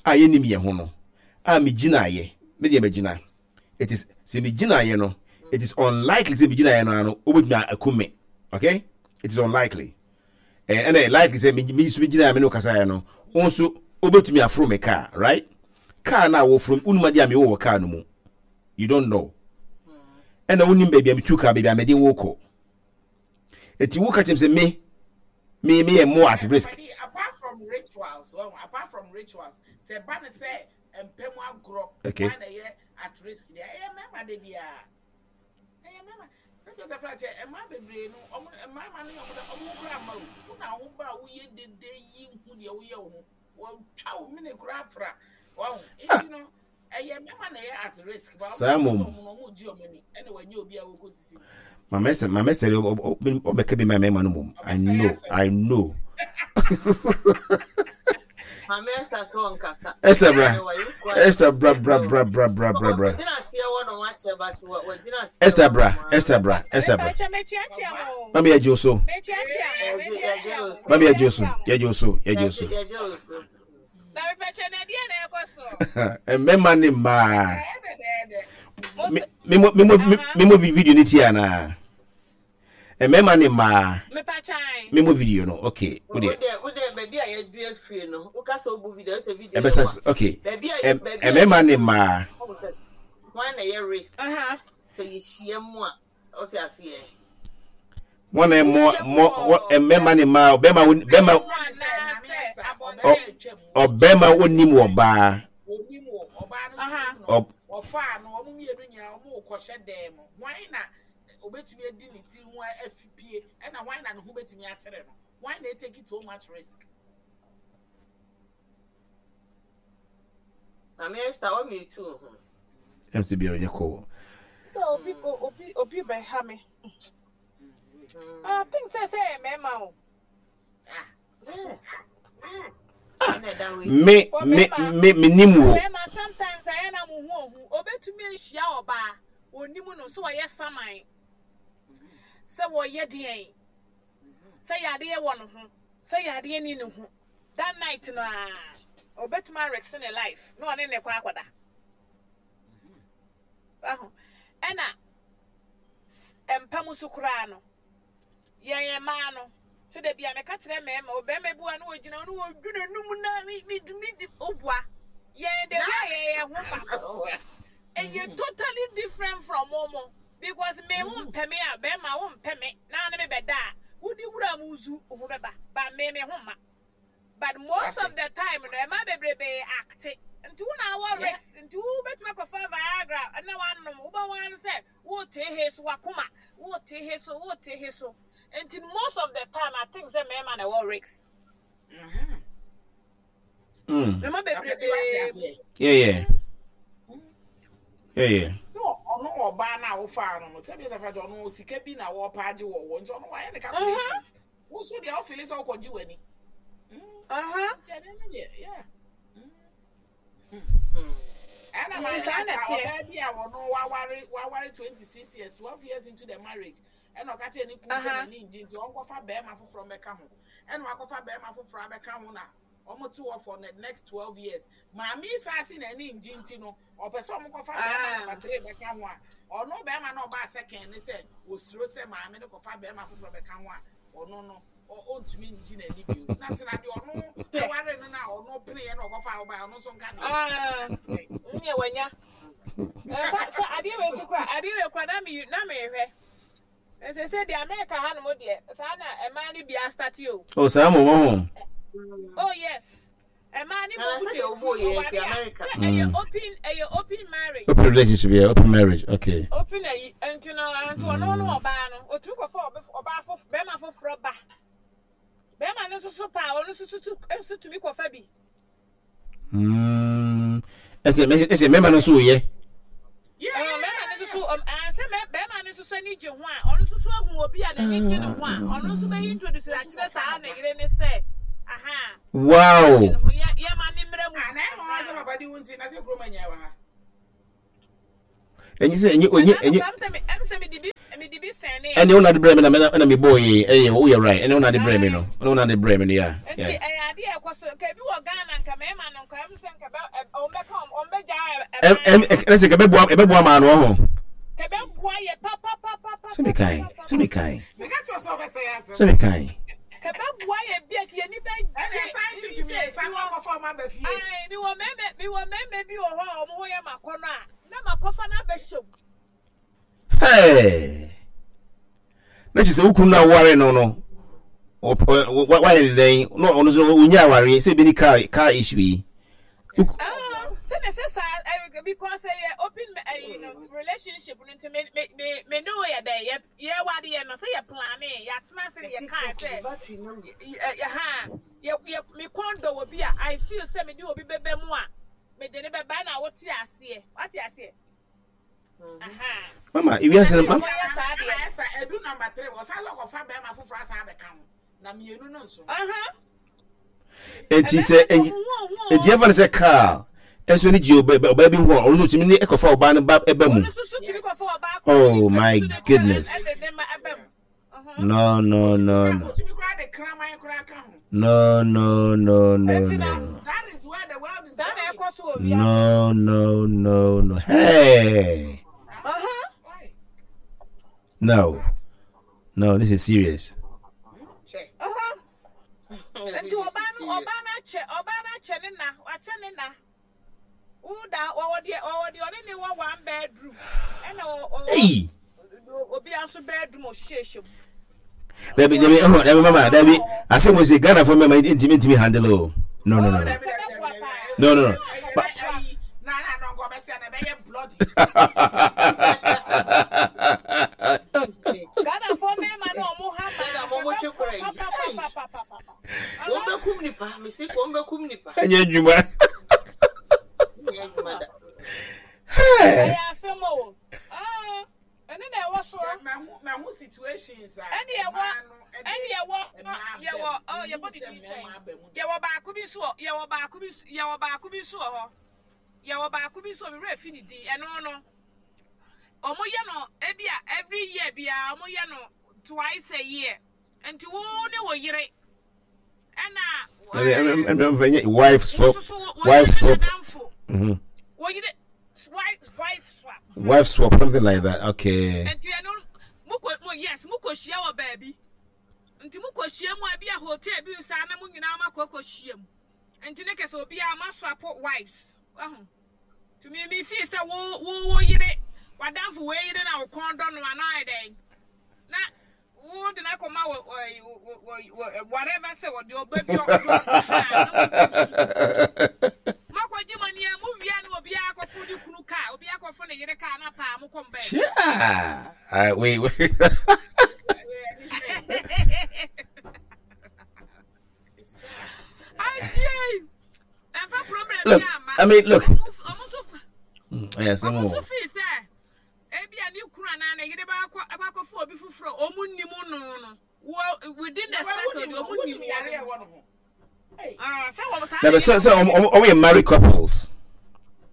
a yɛnnim yɛn ho no, a megyinaeɛ, me deɛ magyina. It is, sɛ megyinaeɛ no, it is unlikely sɛ megyinaeɛ no ano, wobɛtumi akum me. Okay? It is unlikely. Eh, ɛna likely sɛ me nso megyinaeɛ me ne wo kasaeɛ no, wo nso wobɛtumi aforo me car, right? Car no a wɔforo, wonim adeɛ a mewɔ wɔ car no mu. You don't know. Ɛna wonim baabi a metu car, baabi a mede wo kɔ. Eti wo ka kyerɛ me sɛ me me me yɛ more at risk. Apart from rituals, well, apart from rituals, sɛ ba ne sɛ mpɛ mu agorɔ, okay. na ɛyɛ at risk deɛ ɛyɛ mmarima de biara. Ɛyɛ mmarima. Sɛ bi ɔtafra kyɛ mmaa bebree no, ɔmo mmarima no ɔmo ɔmo ho kora mma o. Wo na wo ba a woyɛ dede yi hu deɛ woyɛ wo ho. Wɔtwa wo mene kora afra. Wɔn nti no. Ɛyɛ mmarima na ɛyɛ at risk. Ba Saa ɔmo mmom. sɛ ɔmo na ɔmo gye ɔmo ani ɛna wɔnyɛ obi a wɔkɔ sisi mu. Mama Esther, Mama Esther, ɔbɛka bi ma mmarima no mmom. I Ɔbɛsɛe know, asɛm. I know. Maame Esther sɛ ɔnkasa. Esther bra, Ɛnɛ wayɛ quiet. Esther bra bra bra bra bra bra bra. Wagyina aseɛ wɔ no wakyɛ but wagyina aseɛ Esther wɔ bra, no Esther bra, Esther bra. Mepakyɛ mekyeakyea mo. Mami yɛ gye wo so. Mekyeakyea mo, mekyeakyea mo, Mami yɛ gye wo so, mekyeakyea mo. yɛ gye wo so, yɛ gye wo so. Yɛgye wo so. Na mepɛkyɛ na ɛdeɛ na ɛkɔ so. Mmarima ne mmaa. Memo video ne tie anaa? Mmarima ne mmaa. Memo video no, okay. Wodeɛ baabi a yɛdu afiri no, woka sɛ wobu video, sɛ video ɛbɛsɛ okay. Mmarima ne mmaa. Wɔn na ɛyɛ risk. Sɛ yɛhyia mu a. Wote aseɛ? Wɔn na mɔ mɔ wɔ mmarima ne mmaa ɔbɛrima wo bɛrima ɔbɛrima onim wɔ baa. Onim wɔ ɔbaa no so nim no. Ɔfaa no wɔn mmienu nyinaa wɔn kɔhyɛ dan mu. Hwan na obetumi adi ne ti ho afipie ɛna hwan na ne ho betumi akyerɛ no? Hwan na etake so much risk? Maame Esther, wa mute wo ho. Ɛm sɛ bia ɔnyɛ kɔ. Sɛ obi obi obi bɛha me. I think sɛ sɛ yɛ mmarima o. Me me me me nim wo. Mmarima sometimes ayɛ na mo ho ohu. Obetumi ahyia ɔbaa onim no sɛ ɔyɛ saman sɛ wɔyɛ deɛn sɛ yadeɛ wɔ ne ho sɛ yadeɛ ni ne ho. That night no aa obetumi a risk ne life na ɔne ne kɔ akɔda. Wahu? Ɛna mpa mu so koraa no, yɛn yɛn mmaa no, sɛ da bi a meka kyerɛ mmarima, ɔbarima bi wa na ɔgyina hɔ na ɔdwu n'anum na mi mi mi di oboa. Yɛn the way yɛn yɛn ho ba no, ɛyɛ totally different from wɔn because me wo mpɛ me a, barima wo mpɛ me na ne me bɛda a, wodi wura mu zu ho bɛba, but me me ho mma. But most of the time no ɛmaa bebrebe acte nti wo na awɔ risk nti wo bɛtumi akɔfa Viagra na wanom wobɛhu ara ne sɛ wote he so wakoma wote he so wote he so nti most of the time I think sɛ mmarima na ɛwɔ risk. Mmarima bebrebe mu. Yeah, yeah. Yeah, yeah. So ɔno ɔbaa no a wofaa no no sɛbi sɛ fɛ ɔno sika bi na wɔpa agye wɔ wɔ nti ɔno wayɛ ne calculations. Wo nso deɛ wofili sɛ wokɔgye w'ani. Nti ɛno no deɛ yeah. Ɛna Nti saa na ɛteɛ. ɔbaa bi a wɔno waware waware 26 years 12 years into the marriage ɛna ɔka kyerɛ ne kunu sɛ n'ani ngye nti ɔnkɔfa bɛrima foforɔ mmɛka ho ɛna wakɔfa bɛrima foforɔ abɛka ho na wɔn te hɔ for the next 12 years maame yi saa se n'ani ngye nti no ɔpɛ sɛ wɔn kɔfa bɛrima number 3 bɛka ho a ɔno bɛrima no ɔbaa second ne sɛ osuro sɛ maame no kɔfa bɛrima foforɔ bɛka ho a ɔno no ɔntumi ngye n'ani bio na tena deɛ ɔno aware no na ɔno peneɛ na ɔkɔfa ɔbaa ɔno nso nka deɛ nneɛ wanya sɛ adeɛ wei so kora adeɛ wei kora na me na mehwɛ ɛsɛ sɛ deɛ America ha nom deɛ saa na ɛmaa no bi astate o. Oh saa mo wɔ ho. Oh yes. Ɛmaa ne mo mu deɛ ti ɔware a sɛ ɛyɛ open ɛyɛ open marriage. Open relationship yeah open marriage okay. Open ayi nti no nti ɔno no ɔbaa no otumi kɔfa ɔbaa fof bɛrima foforɔ ba bɛrima no nso so paa ɔno nso so nso tumi kɔfa bi. Ɛsɛ ɛsɛ mmarima no nso yɛ. Mmarima no nso so sɛ bɛrima no nso so ani gye ho a ɔno nso so ahu obi a n'ani gye ne ho a ɔno nso bɛyi introduce akyerɛ saa ne yere ne sɛ aha. Wow. Yɛ ma ne mmerɛ mu. Ah, na ɛma wɔn sɛ papa di wo nti na sɛ kuroma nyɛ wɔ ha. Ɛnyɛ sɛ ɛnyɛ ɛnyɛ ɛnyɛ. Ɛne wo na de brɛ me na me na me bɔɔ yi ɛyɛ wo yɛ right ɛne wo na de brɛ me no ɛne wo na de brɛ me no ya. Nti ɛyɛ adeɛ ɛkɔ so nka ebi wɔ Ghana nka mɛɛma no nka ɛmu sɛ nka bɛ ɔmo bɛka ɔmo bɛ gya ɛm ɛm ɛna sɛ kɛbɛ boa ɛbɛ boa maa no ɔho. Kɛbɛ boa yɛ papapapa. Sɛ mi kan sɛ mi kan sɛ mi kan. Kɛbɛ boa yɛ bi a kiyɛ ni bɛ gye. Ɛna ɛsan kyi ti mi nsa no akɔfɔ ɔmo aba fie. Ayi mi wɔ mɛɛmɛ mi wɔ mɛɛmɛ bi wɔ hɔ a ɔmo ho yɛ ma kɔ no a na ma kɔfa no abɛhyɛ mu. Hey! Na kyerɛ sɛ wo kunu no a woware no no wayɛ ne dɛn na ɔno nso ɔnya awareɛ sɛ ebi ne car car issue yi. Sɛ na sɛ saa because ɛyɛ open ɛyi no relationship no nti me me me me ne wo yɛ dɛ yɛ yɛ wade yɛ no sɛ yɛ plane yɛ atena ase ne yɛ kaa sɛ yɛ ha yɛ yɛ me kɔn dɔ wɔ bi a I feel sɛ me de obi bɛbɛ mu a me de ne bɛba na wote aseɛ wate aseɛ. Mama, ewiase no mama. Edu number 3 wɔsan sɛ ɔkɔfa bɛrima foforɔ asan abɛka ho na mmienu no nso. Enti sɛ enti ɛfa no sɛ kaa ɛnso ne gye ɔbaa bi ho a ɔno nso tumi ne ɛkɔfa ɔbaa no ba ɛba mu. Oh my goodness. No, no, no, no. No, no, no, no, no. No, no, no, no. Hey. No. No, this is serious. Nti ɔbaa no ɔbaa no akyɛ ɔbaa no akyɛ ne na wakyɛ ne na woda ɔwɔ deɛ ɔwɔ deɛ ɔne ne wɔ one bedroom ɛna ɔwɔ obi nso bedroom ɔhyehyɛ mu. Dabi dabi ɛhɔ dabi mama dabi asɛm wɔ se Ghana fo mɛma ntumi ntumi handle o no no no no no no no. Ghana fo mɛma no ɔmo ha ma papa. Wɔn bɛ kum nipa, mesi wɔn bɛ kum nipa. Ɛnyɛ adwuma. Ɛnyɛ adwuma da. Ɛyɛ asɛm o. Ɛne na ɛwɔ so. Mahu situations a. Ɛne ɛwɔ ɛne ɛwɔ yɛwɔ ɔ yɛbɔ ne din sɛn. Yɛwɔ baako bi nso wɔ yɛwɔ baako bi yɛwɔ baako bi nso wɔ hɔ. Yɛwɔ baako bi nso wɔ mi werɛ fi ne din ɛno no. Wɔn yɛ no ebi a every year biara wɔn yɛ no twice a year. Nti wo ne wo yere ɛna. Ɛnna wife swap wife swap. Wo yere wife swap. Wife swap something like that okay. Nti ɛno mo kɔ mo yes mo kɔ hyia wɔ baabi nti mo kɔ hyia mu a ebi a hotel bi saa na mo nyinaa mo akɔ kɔ hyia mu nti ne kɛsɛ obiara mo aswap wives ɛho tumi mi fi sɛ wo wo wo yere wadanfo wei yere na wo kɔn dɔ no anaa ɛdɛn na. Wo de no akɔma wɔ wɔ wɔ whatever sɛ wɔde ɔba bi ɔdɔ mɔkɔgye mo nea mo wia no obiara akɔfo ne kunu kaa obiara akɔfo ne yere kaa na paa mo kɔm bɛɛ. Yeah. Wait, wait. Look, I mean, look. Yes, I'm Ebia ne kunu anaa ne yere bɛakɔ akɔfa obi foforɔ a wɔn nnim no no wɔ within the circle deɛ wɔn nim wɔn no. Ah, sɛ wɔn saa na bɛ sɛ sɛ wɔn wɔn yɛ married couples.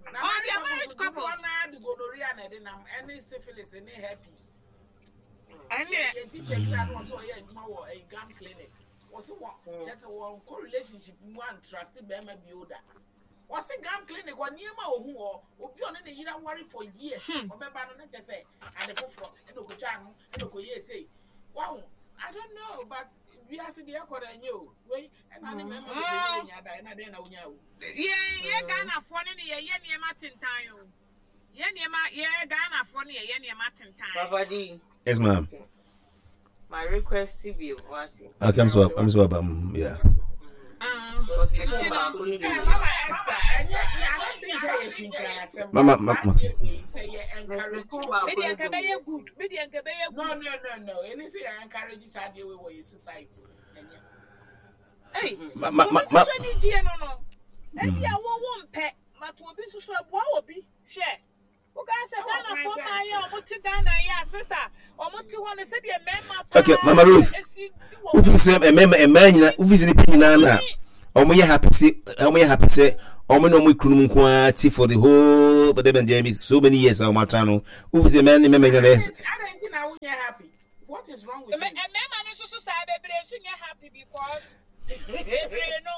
Oh, they are married couples. Wɔn na de gonorrhea na ɛde nam ɛne syphilis ne herpes. Ɛnneɛ. Yɛn teacher bi a na ɔsɛ ɔyɛ adwuma wɔ ɛyi gam clinic. Wɔsɛ wɔn kyɛ sɛ wɔn kɔ relationship mu antrust bɛrima bi o da. Ɔse gam clinic hɔ nneɛma a ohu wɔ obi a ɔne ne yere aware for years ɔbɛba no na kyɛ sɛ ade foforɔ ɛna okotwa ano ɛna okoyɛ sei wahu I don't know but wiase deɛ ɛkɔ no ɛnyɛ o wei ɛna ne mmarima bebree ne nya da ɛna dɛn na wonya o. Yɛn yɛ Ghanafoɔ ne ne yɛyɛ nneɛma tentan o yɛ nneɛma yɛ Ghanafoɔ ne yɛyɛ nneɛma tentan. Papa D. Yes ma'am. My request bi wate. Okay, I'm so I'm so about yeah. Mama, mama, okay. No, no, no, no. Any say I encourage this idea we were society. Hey, ma, ma, ma, ma. Ebi a wo wo mpɛ, but obi nso so ɛboa obi. Hwɛ. Wokaa sɛ Ghanafoɔ mmaa yi a wɔn te Ghana yi a sister wɔn te hɔ no sɛdeɛ mmarima paa Okay, Mama Ruth, esi di wɔn wofi sɛ mmarima mmaa nyina wofi sɛ nipa nyinaa na wɔn yɛ happy sɛ wɔn yɛ happy sɛ wɔn ne wɔn kununom nko ara ti for the whole so dɛbɛn deɛ so many years a wɔn atena no wofi sɛ mɛn ne mɛmɛ nyɛ dɛ. Adɛn nti na wonyɛ happy? What is wrong with you? Mmarima no nso so saa bebree nso nyɛ happy because bebree no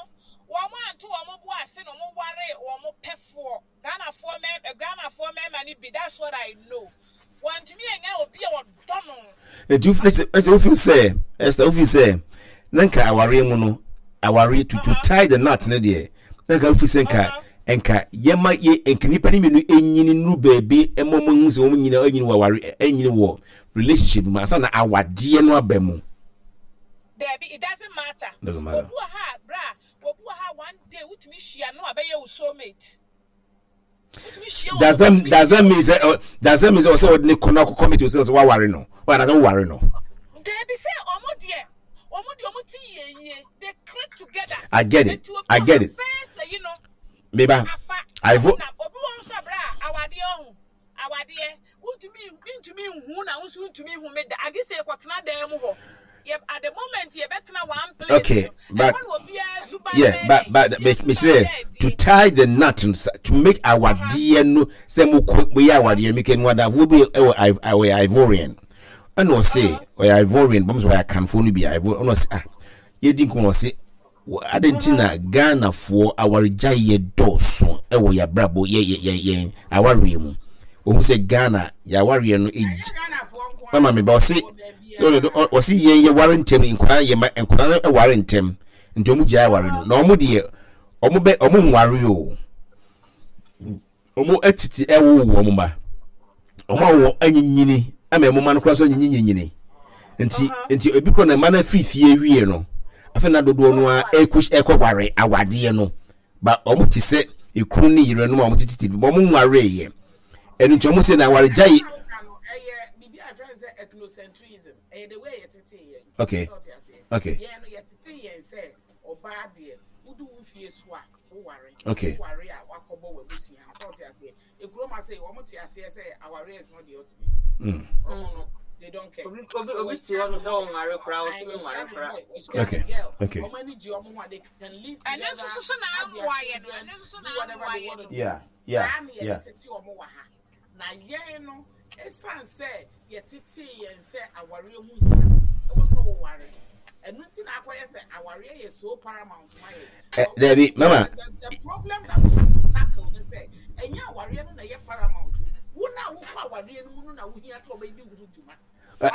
wɔn anto wɔn bo ase na wɔn ware wɔn pɛfoɔ. Ghanafoɔ mmarima Ghanafoɔ mmarima no bi that's what I know. Wɔntumi anya obi a ɔdɔ no. Nti ɛsɛ wofi sɛ ɛsɛ wofi sɛ na nka awareɛ mu no awareɛ to to tie the knot ne deɛ na nka wofi sɛ nka nka yɛma yɛ nka nipa ne mmienu enyini nuru baabi ɛma wɔn ehu sɛ wɔn nyina enyini wɔ aware enyini wɔ relationship mu ansa na awadeɛ no aba mu. Dabi, it doesn't matter. Doesn't matter. Obi wɔ ha bra, obi wɔ ha one day wotumi hyia no abɛyɛ wo soulmate. Does that does that mean say uh, does that mean say ɔsɛ ɔde ne kɔ na akɔ commit sɛ ɔsɛ waware no ɔyɛ anasɛ woware no. Dabi sɛ ɔmo deɛ ɔmo deɛ ɔmo ti yie yie they click together. I get it. I get it. Meba. I vote. Obi wɔ nso abira awadeɛ ɔho awadeɛ wontumi ntumi nhu na wo nso ntumi nhu me da agye sɛ yɛkɔtena dan mu hɔ yɛ at the moment yɛbɛtena one place okay but yeah but but me me say to tie the knot to make awadeɛ no sɛ mo kɔ mo yɛ awadeɛ mi kɛ mo adafo bi ɛwɔ ɛwɔ Ivorian ɛna ɔse ɔyɛ Ivorian bɔm sɛ ɔyɛ akanfoɔ no bi Ivorian ɛna ɔse ah yɛdi nkɔmɔ ɔse Adɛn nti na Ghanafoɔ awaregyaeɛ dɔɔso wɔ yɛn abrabɔ yɛ yɛ yɛ yɛn awareɛ mu? Ohun sɛ Ghana yɛ awareɛ no egye mama mi ba ɔse ɔse yɛn yɛ ware ntɛm nkwadaa yɛ ma nkwadaa no ware ntɛm nti wɔn gyae aware no na wɔn deɛ wɔn bɛ wɔn nware o. Wɔn atiti ɛwowo wɔn mma. Wɔn awo anyinyini ama wɔn mma no koraa nso anyinyinyini. Nti nti ebi koraa na mma no afiri fie wie no, afei na dodoɔ no ara ɛkɔ ɛkɔ ware awadeɛ no. Ba wɔn te sɛ ekunu ne yerenom a wɔn tete bi, wɔn nwareeɛ. Ɛno nti wɔn sɛ na awaregyae. Okay. Okay. Woware. Okay. Woware a wakɔbɔ w'abusua. Sɛ ɔte aseɛ. Ekurom ase wɔn te aseɛ sɛ awareɛ is not the ultimate. Mm. Wɔn no they don't care. Obi obi obi te hɔ no sɛ ɔnware koraa ɔsɛ mi nware koraa. Okay. Okay. Wɔn ani gye wɔn ho a they can live together. Ɛno nso so na amoa yɛ no. Ɛno nso so na amoa yɛ no. Yeah. Yeah. Saa na yɛde tete wɔn wɔ ha. Na yɛn no, esiane sɛ yɛtetee yɛn sɛ awareɛ ho hia, ɛwɔ sɛ woware. Ɛno nti na akɔyɛ sɛ awareɛ yɛ so paramount ma yɛn. Eh, dabi, mama. The problem that we have to tackle ne sɛ, ɛnyɛ awareɛ no na ɛyɛ paramount. Wo na wokɔ awareɛ no mu no na wohia sɛ wɔbɛdi wo ho dwuma.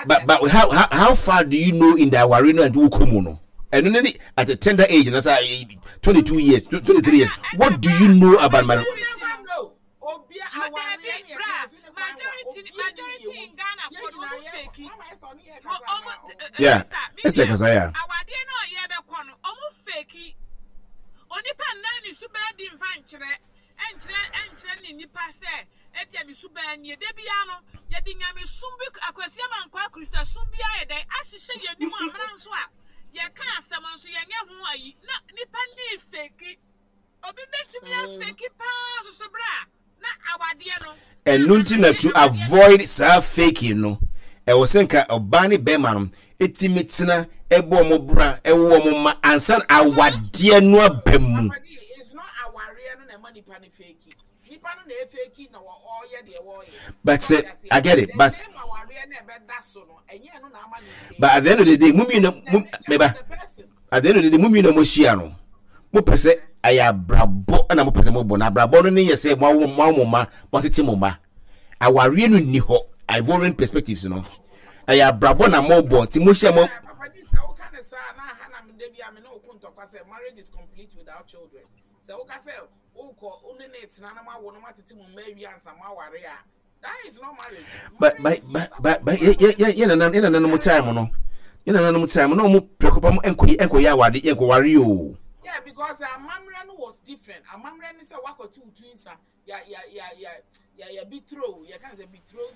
But how far do you know in the awareɛ no and wokɔ mu no? Ɛno ne at a tender age, na sɛ 22 years, 23 years, what do you know about marriage? Dabi bra majority majority in Ghana for no ɔmo fake ɔmo yeah ɛsɛ kasa ya awadeɛ na ɔyɛ bɛkɔ no ɔmo fake onipa nnan ne suban di nfa nkyerɛ ɛnkyerɛ ɛnkyerɛ ne nipa sɛ ebia me suban nie da bia no yɛde nyamesom bi akwasi ama nkɔ akristosom bi ayɛ dɛn ahyehyɛ yɛn anim amena nso a yɛka asɛm nso yɛnyɛ ho ayi na nipa ne fake Obi bɛtumi afeki paa soso berɛ a na awadeɛ no. Ɛno nti na to avoid saa faking no, ɛwɔ sɛ nka ɔbaa ne bɛrima no ɛtumi tena ɛbɔ wɔn bra ɛwo wɔn mma ansa na awadeɛ no aba mu. But sɛ I get it but but at the end of the day mo mmienu mo meba at the end of the day mo mmienu a mo ahyia no mo pɛ sɛ ɛyɛ abrabɔ ɛna mo pɛ sɛ mo bɔ na abrabɔ no ne yɛ sɛ mo awo mo awo mo mma mo atete mo mma awareɛ no nni hɔ Ivorian perspectives no ɛyɛ abrabɔ na mo bɔ nti mo hyɛ mo. Sɛ woka sɛ wokɔ wo ne ne tena na moawo na moatete mo mma awie ansa moaware a, that is not marriage. But but but but but yɛ yɛ yɛ yɛ nana yɛ nananom time no yɛ nananom time no ɔmo prɛko pa mo ɛnkɔ ɛnkɔ yɛ awade ɛnkɔ ware o. Yeah, because amammerɛ no was different. Amammerɛ ne sɛ wakɔte wo tu nsa ya ya ya ya ya ya bitro yɛ ka sɛ bitro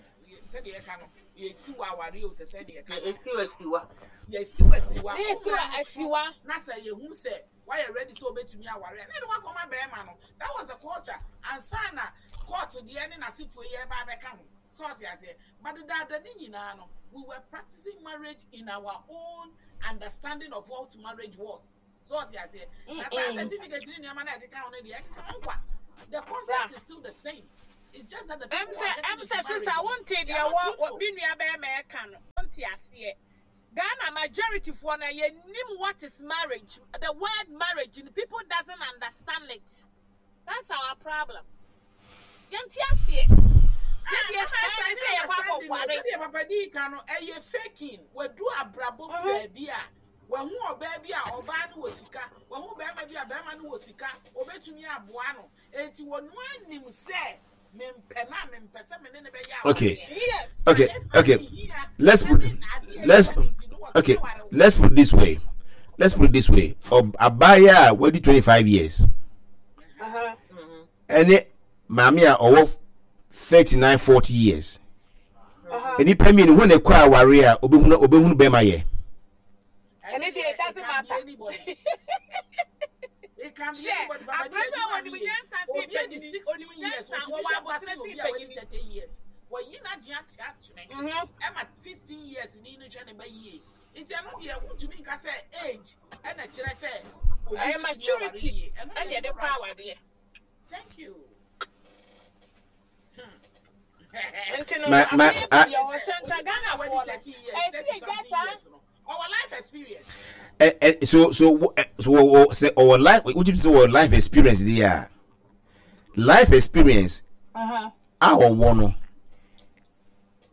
sɛdeɛ yɛka no yɛsi wɔ aware o sɛ sɛdeɛ yɛka no. Yɛsi wɔ asiwa. Yɛsi wɔ asiwa. Yɛsi wɔ asiwa. Na sɛ yɛhu sɛ Wayɛ ready sɛ obetumi aware a, na ɛde wakɔma bɛrima no. That was the culture. Ansa na court deɛ ne n'asefoɔ yi ɛreba abɛka ho. So ɔte aseɛ. But dedaada ne nyinaa no, we were practicing marriage in our own understanding of what marriage was. So ɔte aseɛ. Na saa certificate ne nneɛma na ɛkeka ho no deɛ, ɛkeka ho kwa. The concept is still the same. It's just that the people Ɛm who sɛ are getting ɛm into sɛ sister marriage no, wonte they deɛ are not wɔ wɔ truthful. me nua bɛrima ɛka no wonte aseɛ. Ghana majority foɔ no yɛnnim what is marriage the word marriage no people doesn't understand it that's our problem. Yɛnte aseɛ. Ah, Yɛdeɛ mama ɛɛ Esther ne ne sɛ yɛkɔ understanding no akɔware. sɛdeɛ papa dii ka no ɛyɛ faking wadu abrabɔ mu baabi a wahu ɔbaa bi a ɔbaa no wɔ sika wahu bɛrima bi a bɛrima no wɔ sika obetumi aboa no enti wɔn anim sɛ mempɛ na mempɛ sɛ me ne ne bɛyɛ Okay. awareɛ Yes. but Okay. ɛsan Okay. ne hia Let's put ɛne adeɛ let's ɛhia ne nti no wɔsɛ okay. aware wo Let's put it this way. Let's put it this way. Abaayewa a wadi 25 years. Uh-huh. Ɛne maame a ɔwɔ 39 40 years. Nnipa mmienu wɔn na ɛkɔ aware a obehunu obehunu bɛrima yɛ. Ɛne deɛ it doesn't matter. Hwɛ, abere bi a wɔnim nyansa sen panyini, onim nyansa, wɔwɔ abotire sen panyini. Wɔyi n'adwene ate akyene ɛma 15 years ni no hwɛ ne ba yie nti ɛno deɛ wontumi nka sɛ age ɛna kyerɛ sɛ obi Ɛyɛ bɛtumi aware maturity yie ɛno ɛne deɛ ɛde so kɔ right awadeɛ. thank you. Nti no, Ma ma afei a deɛ wɔ sɛ nka Ghanafoɔ no, ɛsɛ yɛgya saa Ɔwɔ life experience. ɛ ɛ so so ɛ so wɔ sɛ ɔwɔ life wotumi sɛ wɔ life experience deɛ a life experience a ɔwɔ no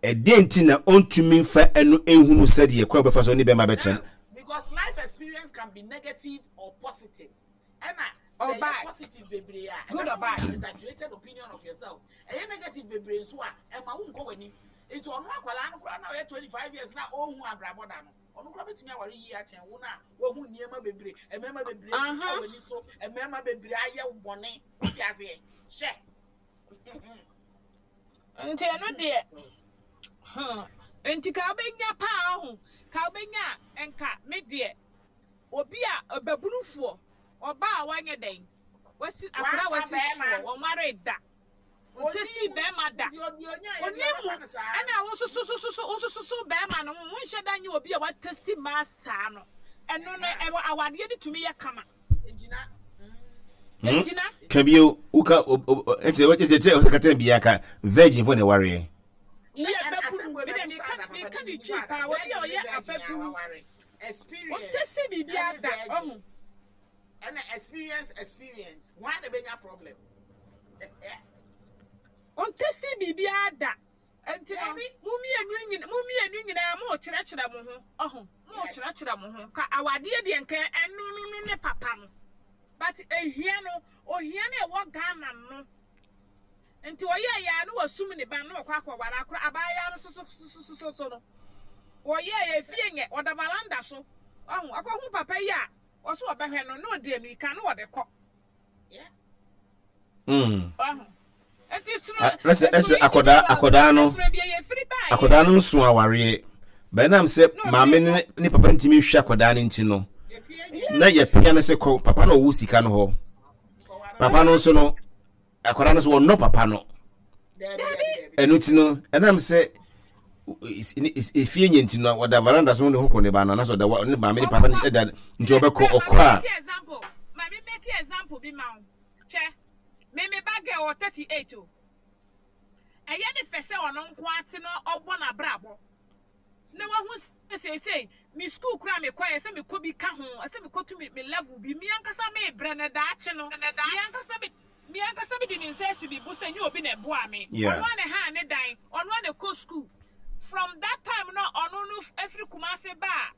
ɛdeɛ nti na ɔntumi nfa ɛno ehunu sɛdeɛ kwan bɛfa so ne bɛrima bɛtena. Because life experience can be negative or positive. Ɛna or sɛ ɛyɛ bad, positive bebree a good ɛbɛma or bad. woanya exaggerated opinion of yourself. Ɛyɛ negative bebree nso a ɛma wonkɔ w'anim. Nti ɔno akwadaa no koraa na ɔyɛ 25 years na ɔnhu abrabɔ da no, ɔno koraa bɛtumi aware yie akyɛn wo no a wahu nneɛma bebree, mmarima bebree atwitwa w'ani so, mmarima bebree ayɛ wo bɔne. Wote aseɛ? Hwɛ. Nti ɛno deɛ, hmm, nti ka wobɛnya paa ho, ka wobɛnya a, nka me deɛ, obi a ɔbabunufoɔ, ɔbaa a wanyɛ dɛn, wasi, akwadaa a Wamfa wasi bɛrima. soɔ, wɔnwaree da, Ɔnni ɔntestii mu. bɛrima da, Nti ɔdeɛ ɔnyaeɛ ɔnni deɛ mu, ɔbɛfa no saa. ɛna wososososo, wosososo bɛrima no ho, wonhyɛ da nyɛ obi a watesti mmaa saa no, ɛno no, ɛwɔ awadeɛ no tumi yɛ kama. Egyina. Egyina. Ka bio woka ɛkyɛ ɛkyɛ ɛkyɛ ɔsɛ kata bia ka virgin fo na ɛwareɛ. Yɛ ababunu, me deɛ meka meka ne twi paa, obi a ɔyɛ ababunu, ɔntesti biribiara da, ɔho. Ɛna experience experience, hwan na benya problem? Ɔntesti biribiara da, nti no mo mmienu nyina mo mmienu nyinaa mo kyerɛkyerɛ mo ho, ɔho, mo kyerɛkyerɛ mo ho, ka awadeɛ deɛ nka ɛno no no ne papa no, but ehia no, ohia no ɛwɔ Ghana no. Nti ɔyɛɛ yɛ a na wasum ne ba no na ɔkɔ akɔware akora abaayewa no sososososo no ɔyɛɛ yɛ efie nyɛ ɔda valanda so ɔho ɔkɔhu papa yi a ɔso ɔbɛhwɛ no na ɔde amirika na ɔde kɔ ɔho nti sono ɛsɛ ɛsɛ akɔdaa akɔdaa no akɔdaa no nso awareɛ bɛnam sɛ maame ne ne papa ntumi nhwɛ akɔdaa no nti no na yɛpia no sɛ kɔ papa na ɔwɔ sika no hɔ papa no nso no akwadaa no so wɔnnɔ papa no ɛno ti no ɛnam sɛ efie nyɛ nti no ɔda veranda so ne ho kɔ ne ba no anaasɛ ɔda ne maame ne papa no ɛda nti ɔbɛkɔ ɔkɔ a. Maame make example bi ma wo hwɛ me me ba girl wɔ 38 o ɛyɛ ne fɛ sɛ ɔno nko ate no ɔbɔ n'abrabɔ na wahu sɛ seesei me sukuu koraa a mekɔ ɛsɛ mekɔ bi ka ho, ɛsɛ mekɔtu me me level bi, me ankasa merebrɛ na daakye no, me ankasa me me ankasa mede me nsa asi me bo sɛ nyɛ obi na ɛboaa me, ɔno ara na ɛhaa ne dan, ɔno ara na ɛkɔ sukuu. From that time no a ɔno no firi Kumasi baa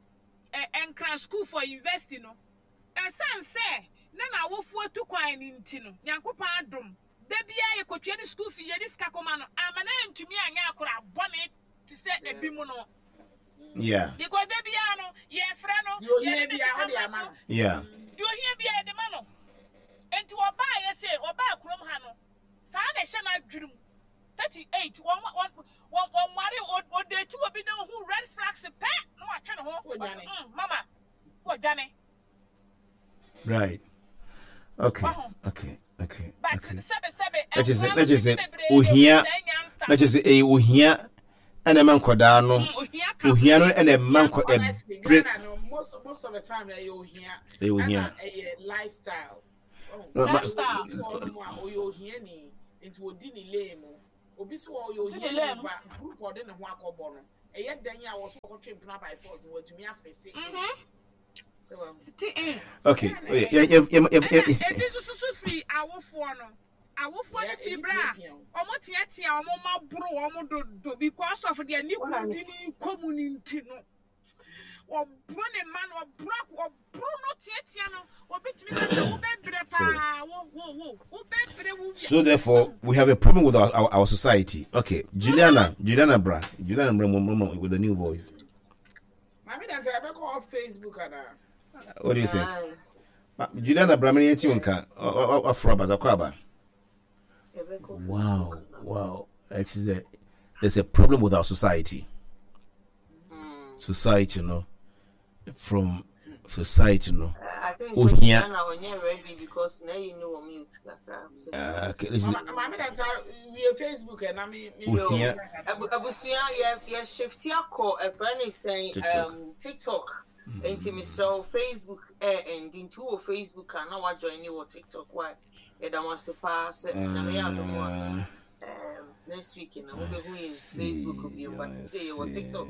ɛ Nkran school for university no, ɛsiane sɛ na n'awofoɔ atu kwan no nti no, Nyankopɔn adom, da biara yɛkɔtua ne school fee, yɛde sika kɔma no, amma no antumi anyɛ akwadaa bɔne te sɛ ebi mu no. Yeah. Because da biara no yɛfrɛ no, Deɛ ohia yɛde ne biara sika wode ma ama so. no. Yeah. Deɛ ohia biara yɛde ma no. Nti ɔbaa yɛ se ɔbaa kurom ha no, saa na ɛhyɛ n'adwene mu. 38 wɔn wɔn wɔn wɔnware ɔdate obi na ohu red flags pɛ na watwe ne ho. Ɔdwane. Ɔse mm mama ɔdwane. Right. Okay. Wahu. Okay. Okay. But Okay. sɛbe sɛbe Na kyerɛ sɛ nkwadaa na no kyerɛ sɛ bebree ohia ehu saa nyansa na kyerɛ sɛ ɛyɛ ohia ɛna ɛma nkɔdaa no Mm, ohia ka ohia no ɛna ɛma nkɔ Honestly, ɛbrɛ Ghana no most most of the time ɛyɛ ohia ɛyɛ ohia. ɛna ɛyɛ lifestyle. Oh, No, ma- Lifestyle. obi wɔ hɔnom a ɔyɛ ohiani. Nti ɔdi ne lane mu. Obi so ɔyɛ ohiani ba group ɔde ne ho akɔbɔ no ɛyɛ dɛn a wɔso ɔkɔtwe mpena by force no watumi afete in. Sɛ wahu. Fete in. Okay. Oh, yeah, yeah, yeah, yeah, yeah, Ɛna yeah. ebi nso soso firi awofoɔ no. Awofoɔ no firi berɛ a wɔn teatea wɔn mma boro wɔn dodo because of deɛ ne kunu de ne kɔ mu no nti no. Wɔboro ne mma no, wɔboro ak wɔboro no teatea no. Obi tumi ka sɛ wobɛbrɛ paa, wo wo wo, wobɛbrɛ wo wia. So therefore, we have a problem with our, our, our society. Okay, Juliana, Juliana Bra, Juliana Bra, with the new voice. Maame Dante, ɛbɛkɔ off Facebook anaa? What do you think? Juliana Bra, mene yɛnti wo nka, waforo aba, zakɔ aba. Wow, wow. Actually, there's a problem with our society. Society no, from society no. I think Ohia. Juliana ɔnyɛ ready because na yi no wɔ mute kakra. Okay, this is Maame Dante, wie Facebook ɛ na me me. Ohia. Abusua yɛ yɛ shifti akɔ ɛfrɛ ne sɛn TikTok. TikTok. Nti mesrɛ wo Facebook ɛ ɛndi nti wɔ Facebook a na wa join ne wɔ TikTok why. Yɛda mo ase paa sɛ Nyame yɛ adom a next week no mobɛhu yɛn Facebook bio but sɛ yɛwɔ TikTok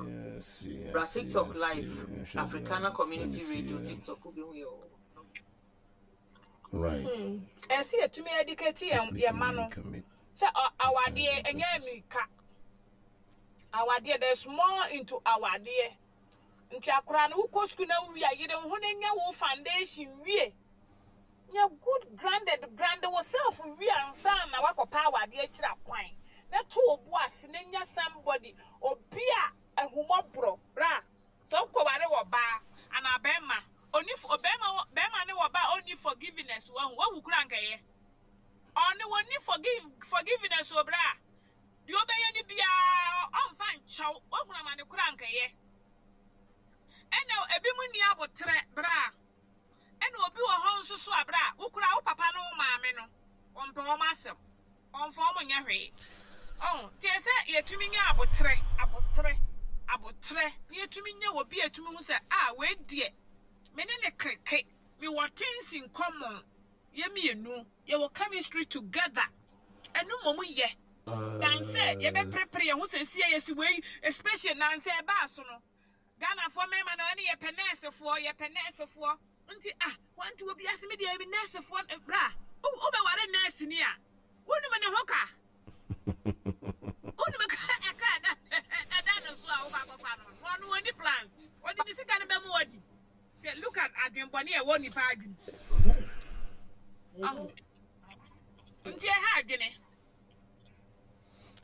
bra TikTok live Africana Community Radio TikTok wobɛhu yɛ wɔ Right. Ɛsɛ yɛtumi educate yɛn yɛn mma no sɛ awadeɛ ɛnyɛ mmirika. Awadeɛ there's more into awadeɛ. Nti akwadaa no wokɔ sukuu na wowie a yere wo ho na nya wo foundation wie. Nya good grounded ground wo self wie ansa na woakɔpɛ awadeɛ akyiri akwan. Na to wo bo ase na nya somebody obi a ahummɔborɔ bra. Sɛ wokɔware ɔbaa anaa bɛrima ɔni ɔbɛrima wɔ bɛrima ne ɔbaa a ɔnni forgiveness wahu wawu koraa anka ɛyɛ. Ɔno ɔnni forgive forgiveness o bra. Deɛ ɔbɛyɛ no biara ɔmfa nkyɛ wo wahunu amane koraa anka ɛyɛ. Ɛna ebinom nni aboterɛ bra. Ɛna obi wɔ hɔ nso so a berɛ a wo koraa wo papa ne wo maame no wɔmpɛ wɔn asɛm, wɔmfa wɔn nyɛ hwee. Ɔho, nti ɛsɛ sɛ yɛtumi nya aboterɛ, aboterɛ, aboterɛ, na yɛtumi nya obi a yɛtumi hu sɛ ah wei deɛ me ne no kleke, mewɔ things in common, yɛn mmienu yɛwɔ chemistry together, ɛno mmom yɛ than sɛ yɛbɛperepere yɛn ho sɛ ɛsi a yɛsi wei, especially nansa ɛbaa so no. Ghanafoɔ mmarima no ɛne yɛpɛ nɛɛsefoɔ yɛpɛ nɛɛsefoɔ nti ah wanti obi ase me deɛ me nɛɛsefoɔ bra wobɛware nɛɛse ni a wonim ne ho ka wonim ka ɛka ɛda ɛda no so a wokɔ akɔfa no no ɔno ɔni plans ɔde ne sika no bɛmu wadi hwɛ look at adwenbɔne a ɛwɔ nipa adwene nti ɛha adwene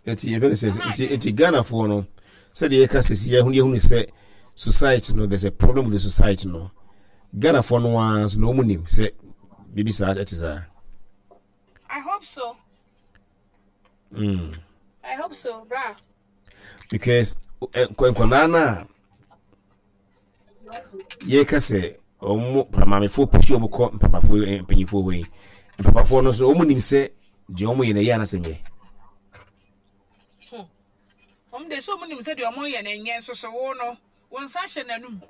nti yɛfɛ no sɛ nti nti ghanafoɔ no sɛdeɛ yɛka sɛsi yɛhunu yɛhunu sɛ society no there's a problem with the society no ghanafoɔ no ara nso na wɔn nim sɛ biribi saa ɛte saa. I hope so. I hope so, bra. Because nkwadaa no a yɛka sɛ wɔn maamefoɔ pusi wɔn kɔ mpapafoɔ eh, mpanyinfoɔ hɔ yi mpapafoɔ no nso wɔn nim sɛ deɛ wɔn yɛ no ɛyɛ anasɛ nyɛ. Hmm. Wɔn de sɛ wɔn nim sɛ deɛ wɔn yɛ no nyɛ nso so wo no wɔn nsa hyɛ n'anum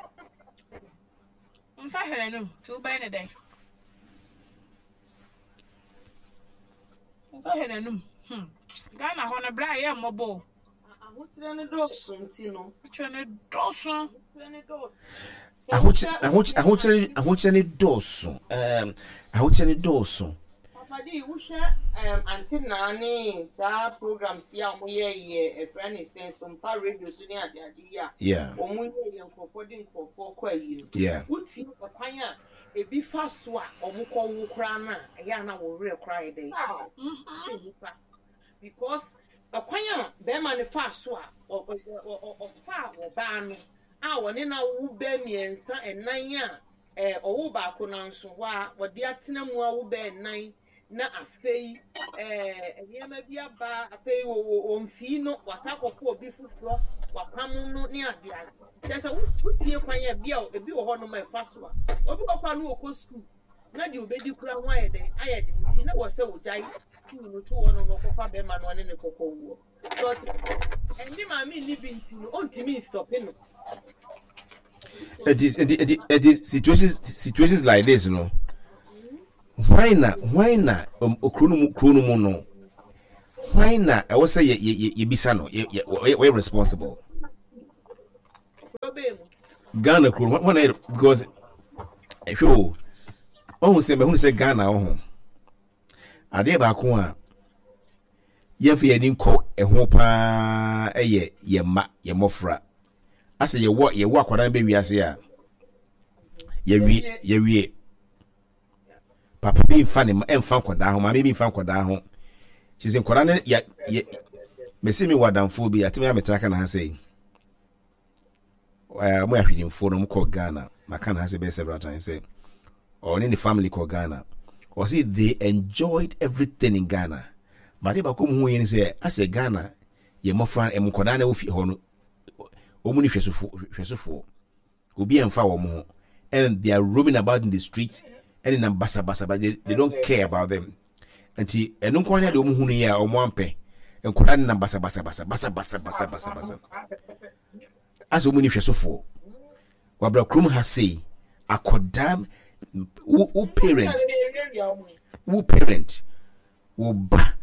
wɔn nsa hyɛ n'anum tí wobɛyɛ ne dɛn nsa hyɛ n'anum hmm Ghana hɔ no bere a yɛ mmɔbɔ o. Ahokyerɛ no dɔɔso nti no. Ahokyerɛ no dɔɔso. Ahokyerɛ no dɔɔso. Ahokyerɛ ahokyerɛ no dɔɔso. Ɛɛm ahokyerɛ no dɔɔso. Papa di wohwɛ ɛɛm ante naa ne saa programs yi a wɔn yɛ yɛ ɛfrɛ ne sɛn sompa radio so ne ade ade yi a. Yeah. Wɔn yɛ yɛ nkorɔfoɔ de nkorɔfoɔ kɔ ayi no. Yeah. Wotie ɛkwan a ebi fa so a wɔn kɔ wo koraa no a ɛyɛ a na wo werɛ koraa yɛ dɛn. Nipa because Ɔkwan a barima no faa so a ɔfaa ɔbaa no a ɔne no awo bɛɛ mmiɛnsa, nnan a ɔwoo baako no nso hɔ a ɔde atena mu awo bɛɛ nnan na afei nneɛma bi aba afei ɔmfii no wasa akɔfo obi foforɔ wapam no ne ade ade kyerɛ sɛ wotie kwan a bi a ebi wɔ hɔnom a ɛfa so a obi wɔ kɔ a no ɔkɔ sukuu na deɛ ɔbɛdi kura ho ayɛ dɛn ayɛ den nti na wɔ sɛ ɔgyae sukuu no to hɔ no na ɔkɔfa bɛrima no ɔne ne kɔkɔ wuo so ɔte ɛne maame nni bi nti no ɔntumi nstɔpe no. It is it is it is situations situations like this no why na why na um, kuro no mu kuro no mu no. Hwan na ɛwɔ sɛ yɛ yɛ yɛbisa no yɛ yɛ wɔyɛ responsible? Ghana kuro hwan na yɛ because ɛhwɛ o ɔhu sɛ mɛhunu sɛ Ghana ɔho adeɛ baako a yɛmfa yɛn ani nkɔ ɛho paa ɛyɛ yɛn mma yɛn mmɔfra asɛ yɛwɔ yɛwɔ akwadaa no bɛ wiase a yɛwie yɛwie. Papa bi nfa ne mfa nkwadaa ho, maame bi nfa nkwadaa ho. Kyerɛ sɛ nkwadaa no yɛ yɛ mesi mi wɔ adamfoɔ bi atumi ametra ka na ha sɛ yi. Ɛɛ wɔn yɛ ahwedimfoɔ na wɔn kɔ Ghana. Maka na ha sɛ bɛyɛ several times sɛ ɔne ne family kɔ Ghana. Ɔsi they enjoyed everything in Ghana. But adeɛ baako mu hu yɛn sɛ asɛ Ghana yɛ mmɔfra nkwadaa na ɛwɔ fie hɔ no wɔn ni hwɛsofo hwɛsofoɔ. Obi ɛnfa wɔn ho and they are roaming about in the street ɛne nam basabasa but they, they don't care about them. Nti ɛno nko ara deɛ wɔn hunu yɛ a wɔn ampɛ. Nkwadaa ne nam basabasa basa basa basa basa basa basa. Asɛ wɔn ni hwɛsofoɔ. Wabra kurom ha sei akɔdaa wo wo parent wo parent wo ba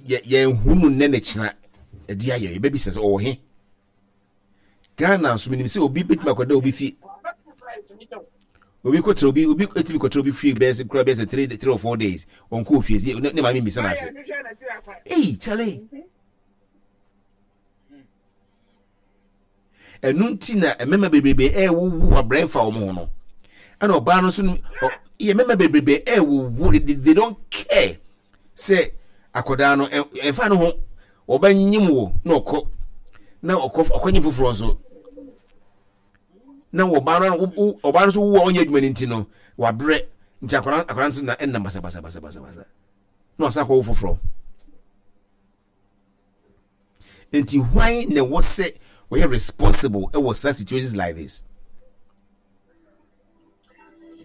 yɛ yɛn hunu nnɛ ne kyena ɛde ayɛ yɛbɛbisa sɛ ɔwɔ he. Ghana nso menim sɛ obi bɛtumi akɔda obi fie obi kɔtena obi obi etumi kɔtena obi fie bɛyɛ sɛ kura bɛyɛ sɛ 3 or 4 days ɔnkɔ ofie si ne maame mbisa n'ase ei kyale ɛno nti na mmarima bebrebe ɛɛwowo abrɛ nfa wɔn ho no ɛna ɔbaa no nso no yɛ mmarima bebrebe ɛɛwowo they don't care sɛ akwadaa no ɛmfa no ho ɔbɛnyem wo na ɔkɔ na ɔkɔ ɔkɔnyem foforɔ nso na ɔbaa no ɔbaa no nso wo a ɔnyɛ adwuma no nti no wabrɛ nti akwadaa akwadaa nso na ɛnam basabasabasabasa na ɔsan akɔwo foforɔ nti hwan na ɛwɔ sɛ ɔyɛ responsible ɛwɔ such situations like this.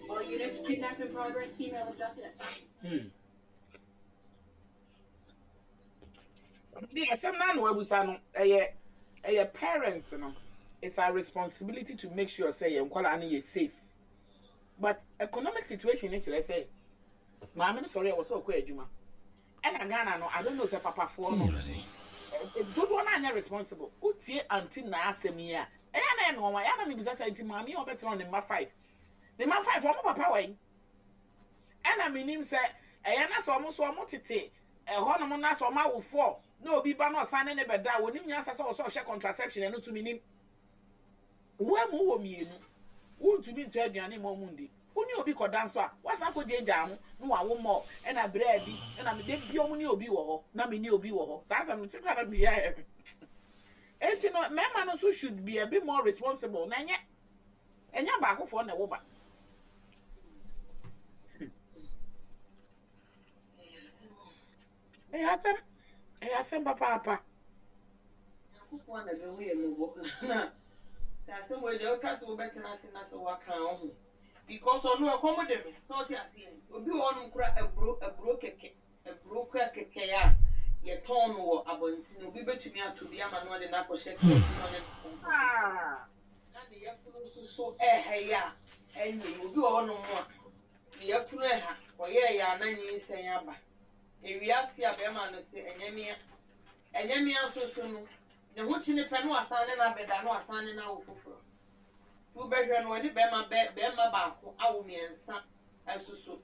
All units, kidnap in progress, female abducted. The asɛm naa na wabusa no ɛyɛ ɛyɛ parents no it's our responsibility to make sure sɛ yɛn nkwadaa no yɛ safe but economic situation ne kyerɛ sɛ maame no sɔre a wɔ sɛ ɔkɔ adwuma ɛna Ghana no I don't know sɛ papafoɔ no dodoɔ no anyɛ responsible. Wotie aunty naa asɛm yi a ɛyɛ na ɛyɛ me nwanwa. Ɛyɛ na mebisa sɛ nti maame yi a ɔbɛtena ne mma five, ne mma five wɔn papa wɔ yi? Ɛna menim sɛ ɛyɛ na sɛ wɔn nso wɔn tete ɛhɔnom na sɛ wɔn awo four na obi ba na ɔsan ne ne bɛda a wɔnim nyansa sɛ ɔsɛ ɔhyɛ contraception ɛno nso menim. Wo amu wɔ mmienu, wontumi ntɔ aduane mma wɔn ndi. Wo ne obi kɔda nso a, woasan akɔgyaagyaa ho na wawo more. Ɛna berɛ bi, ɛna me da bi wɔn ne obi wɔ hɔ, na me ne obi wɔ hɔ. Saa asɛm no, te koraa na meyɛ ayɛ me. Enti no, mmarima no nso should be a bit more responsible. Na ɛnyɛ, ɛnyɛ abaakofoɔ na ɛwo ba. Ɛyɛ asɛm, ɛyɛ asɛm papaapa. Nyankopɔn na bɛhu yɛ mmɔbɔ na sɛ asɛm wei deɛ woka sɛ wobɛtena ase na sɛ woaka wo ho because ɔno ɛkɔm de no sɛ ɔte aseɛ. Obi wɔ hɔnom kora aburo aburo kɛkɛ aburo kora kɛkɛ a yɛtɔn no wɔ abɔnten obi bɛtumi atɔ bi ama no ɔde no akɔhyɛ kaa mu na ɔne no akɔ na ne yafunu nso so ɛha yi a ɛnyɛ yi. Obi wɔ hɔnom a ne yafunu ɛha ɔyɛɛ yɛ a na nyinsɛn aba. Ewiase a bɛrima no se ɛnyɛ mea Ɛnyɛ me ara nso so no, ne ho kyene pɛ na wasan ne no abɛda na wasan ne no awo foforɔ. Nti wobɛhwɛ no ɔne bɛrima bɛ bɛrima baako awo mmiɛnsa nso so.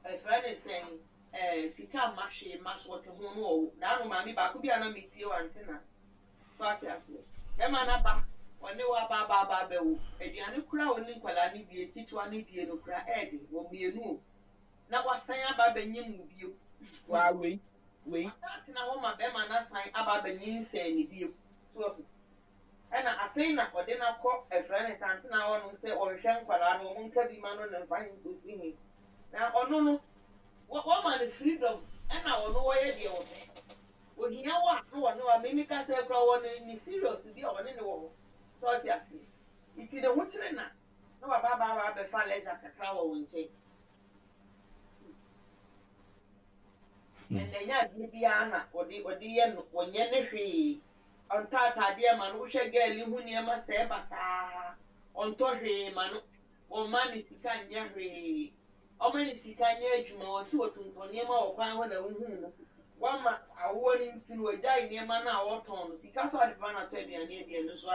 Ɛfrɛ ne sɛn ɛɛ sika mma hwee mma so ɔte ho no ɔwo. Daa no maame baako bi a na metie wɔ antena. So ate aseɛ. Bɛrima no aba ɔne wo aba aba aba abɛwo. Aduane koraa a ɔne nkwadaa no die ketewa no die no koraa ɛɛden wɔ mmienu o. Na wasan aba abɛnyem wo bio. Waa wei wei. Wasan atena hɔ ma bɛrima no asan aba abɛnyinsɛn no bio. So wahu? Ɛna afei na ɔde no akɔ ɛfrɛ no tantena hɔ nom sɛ ɔnhwɛ nkwadaa no, wɔn nka bi ma no na mfa he nkosi he. Na ɔno no, wɔ, wɔma no freedom, ɛna ɔno ɔyɛ deɛ ɔpɛ. Ohia wo a, na ɔne wo a, me meka sɛ koraa ɔwɔ ne, ne serious bi a ɔne no wɔ hɔ. So ɔte aseɛ? Nti ne ho kyere na, na waba aba aba abɛfa leisure kakra wɔ wo nkyɛn. And ɛnyɛ adeɛ biara na ɔde ɔde yɛ no, ɔnyɛ ne hwee. Ɔntɔ ataadeɛ ma no, wohwɛ girl yi ho nneɛma sɛɛ basaa. Ɔntɔ hwee ma no, ɔmma no sika nyɛ hwee. Ɔma ne sika nyɛ adwuma, ɔse ɔtontɔn nneɛma wɔ kwan ho na wohuu no. Wama awoɔ no nti no wagyae nneɛma no a ɔtɔn no. Sika so ade pa na atɔ aduane adi ɛno nso.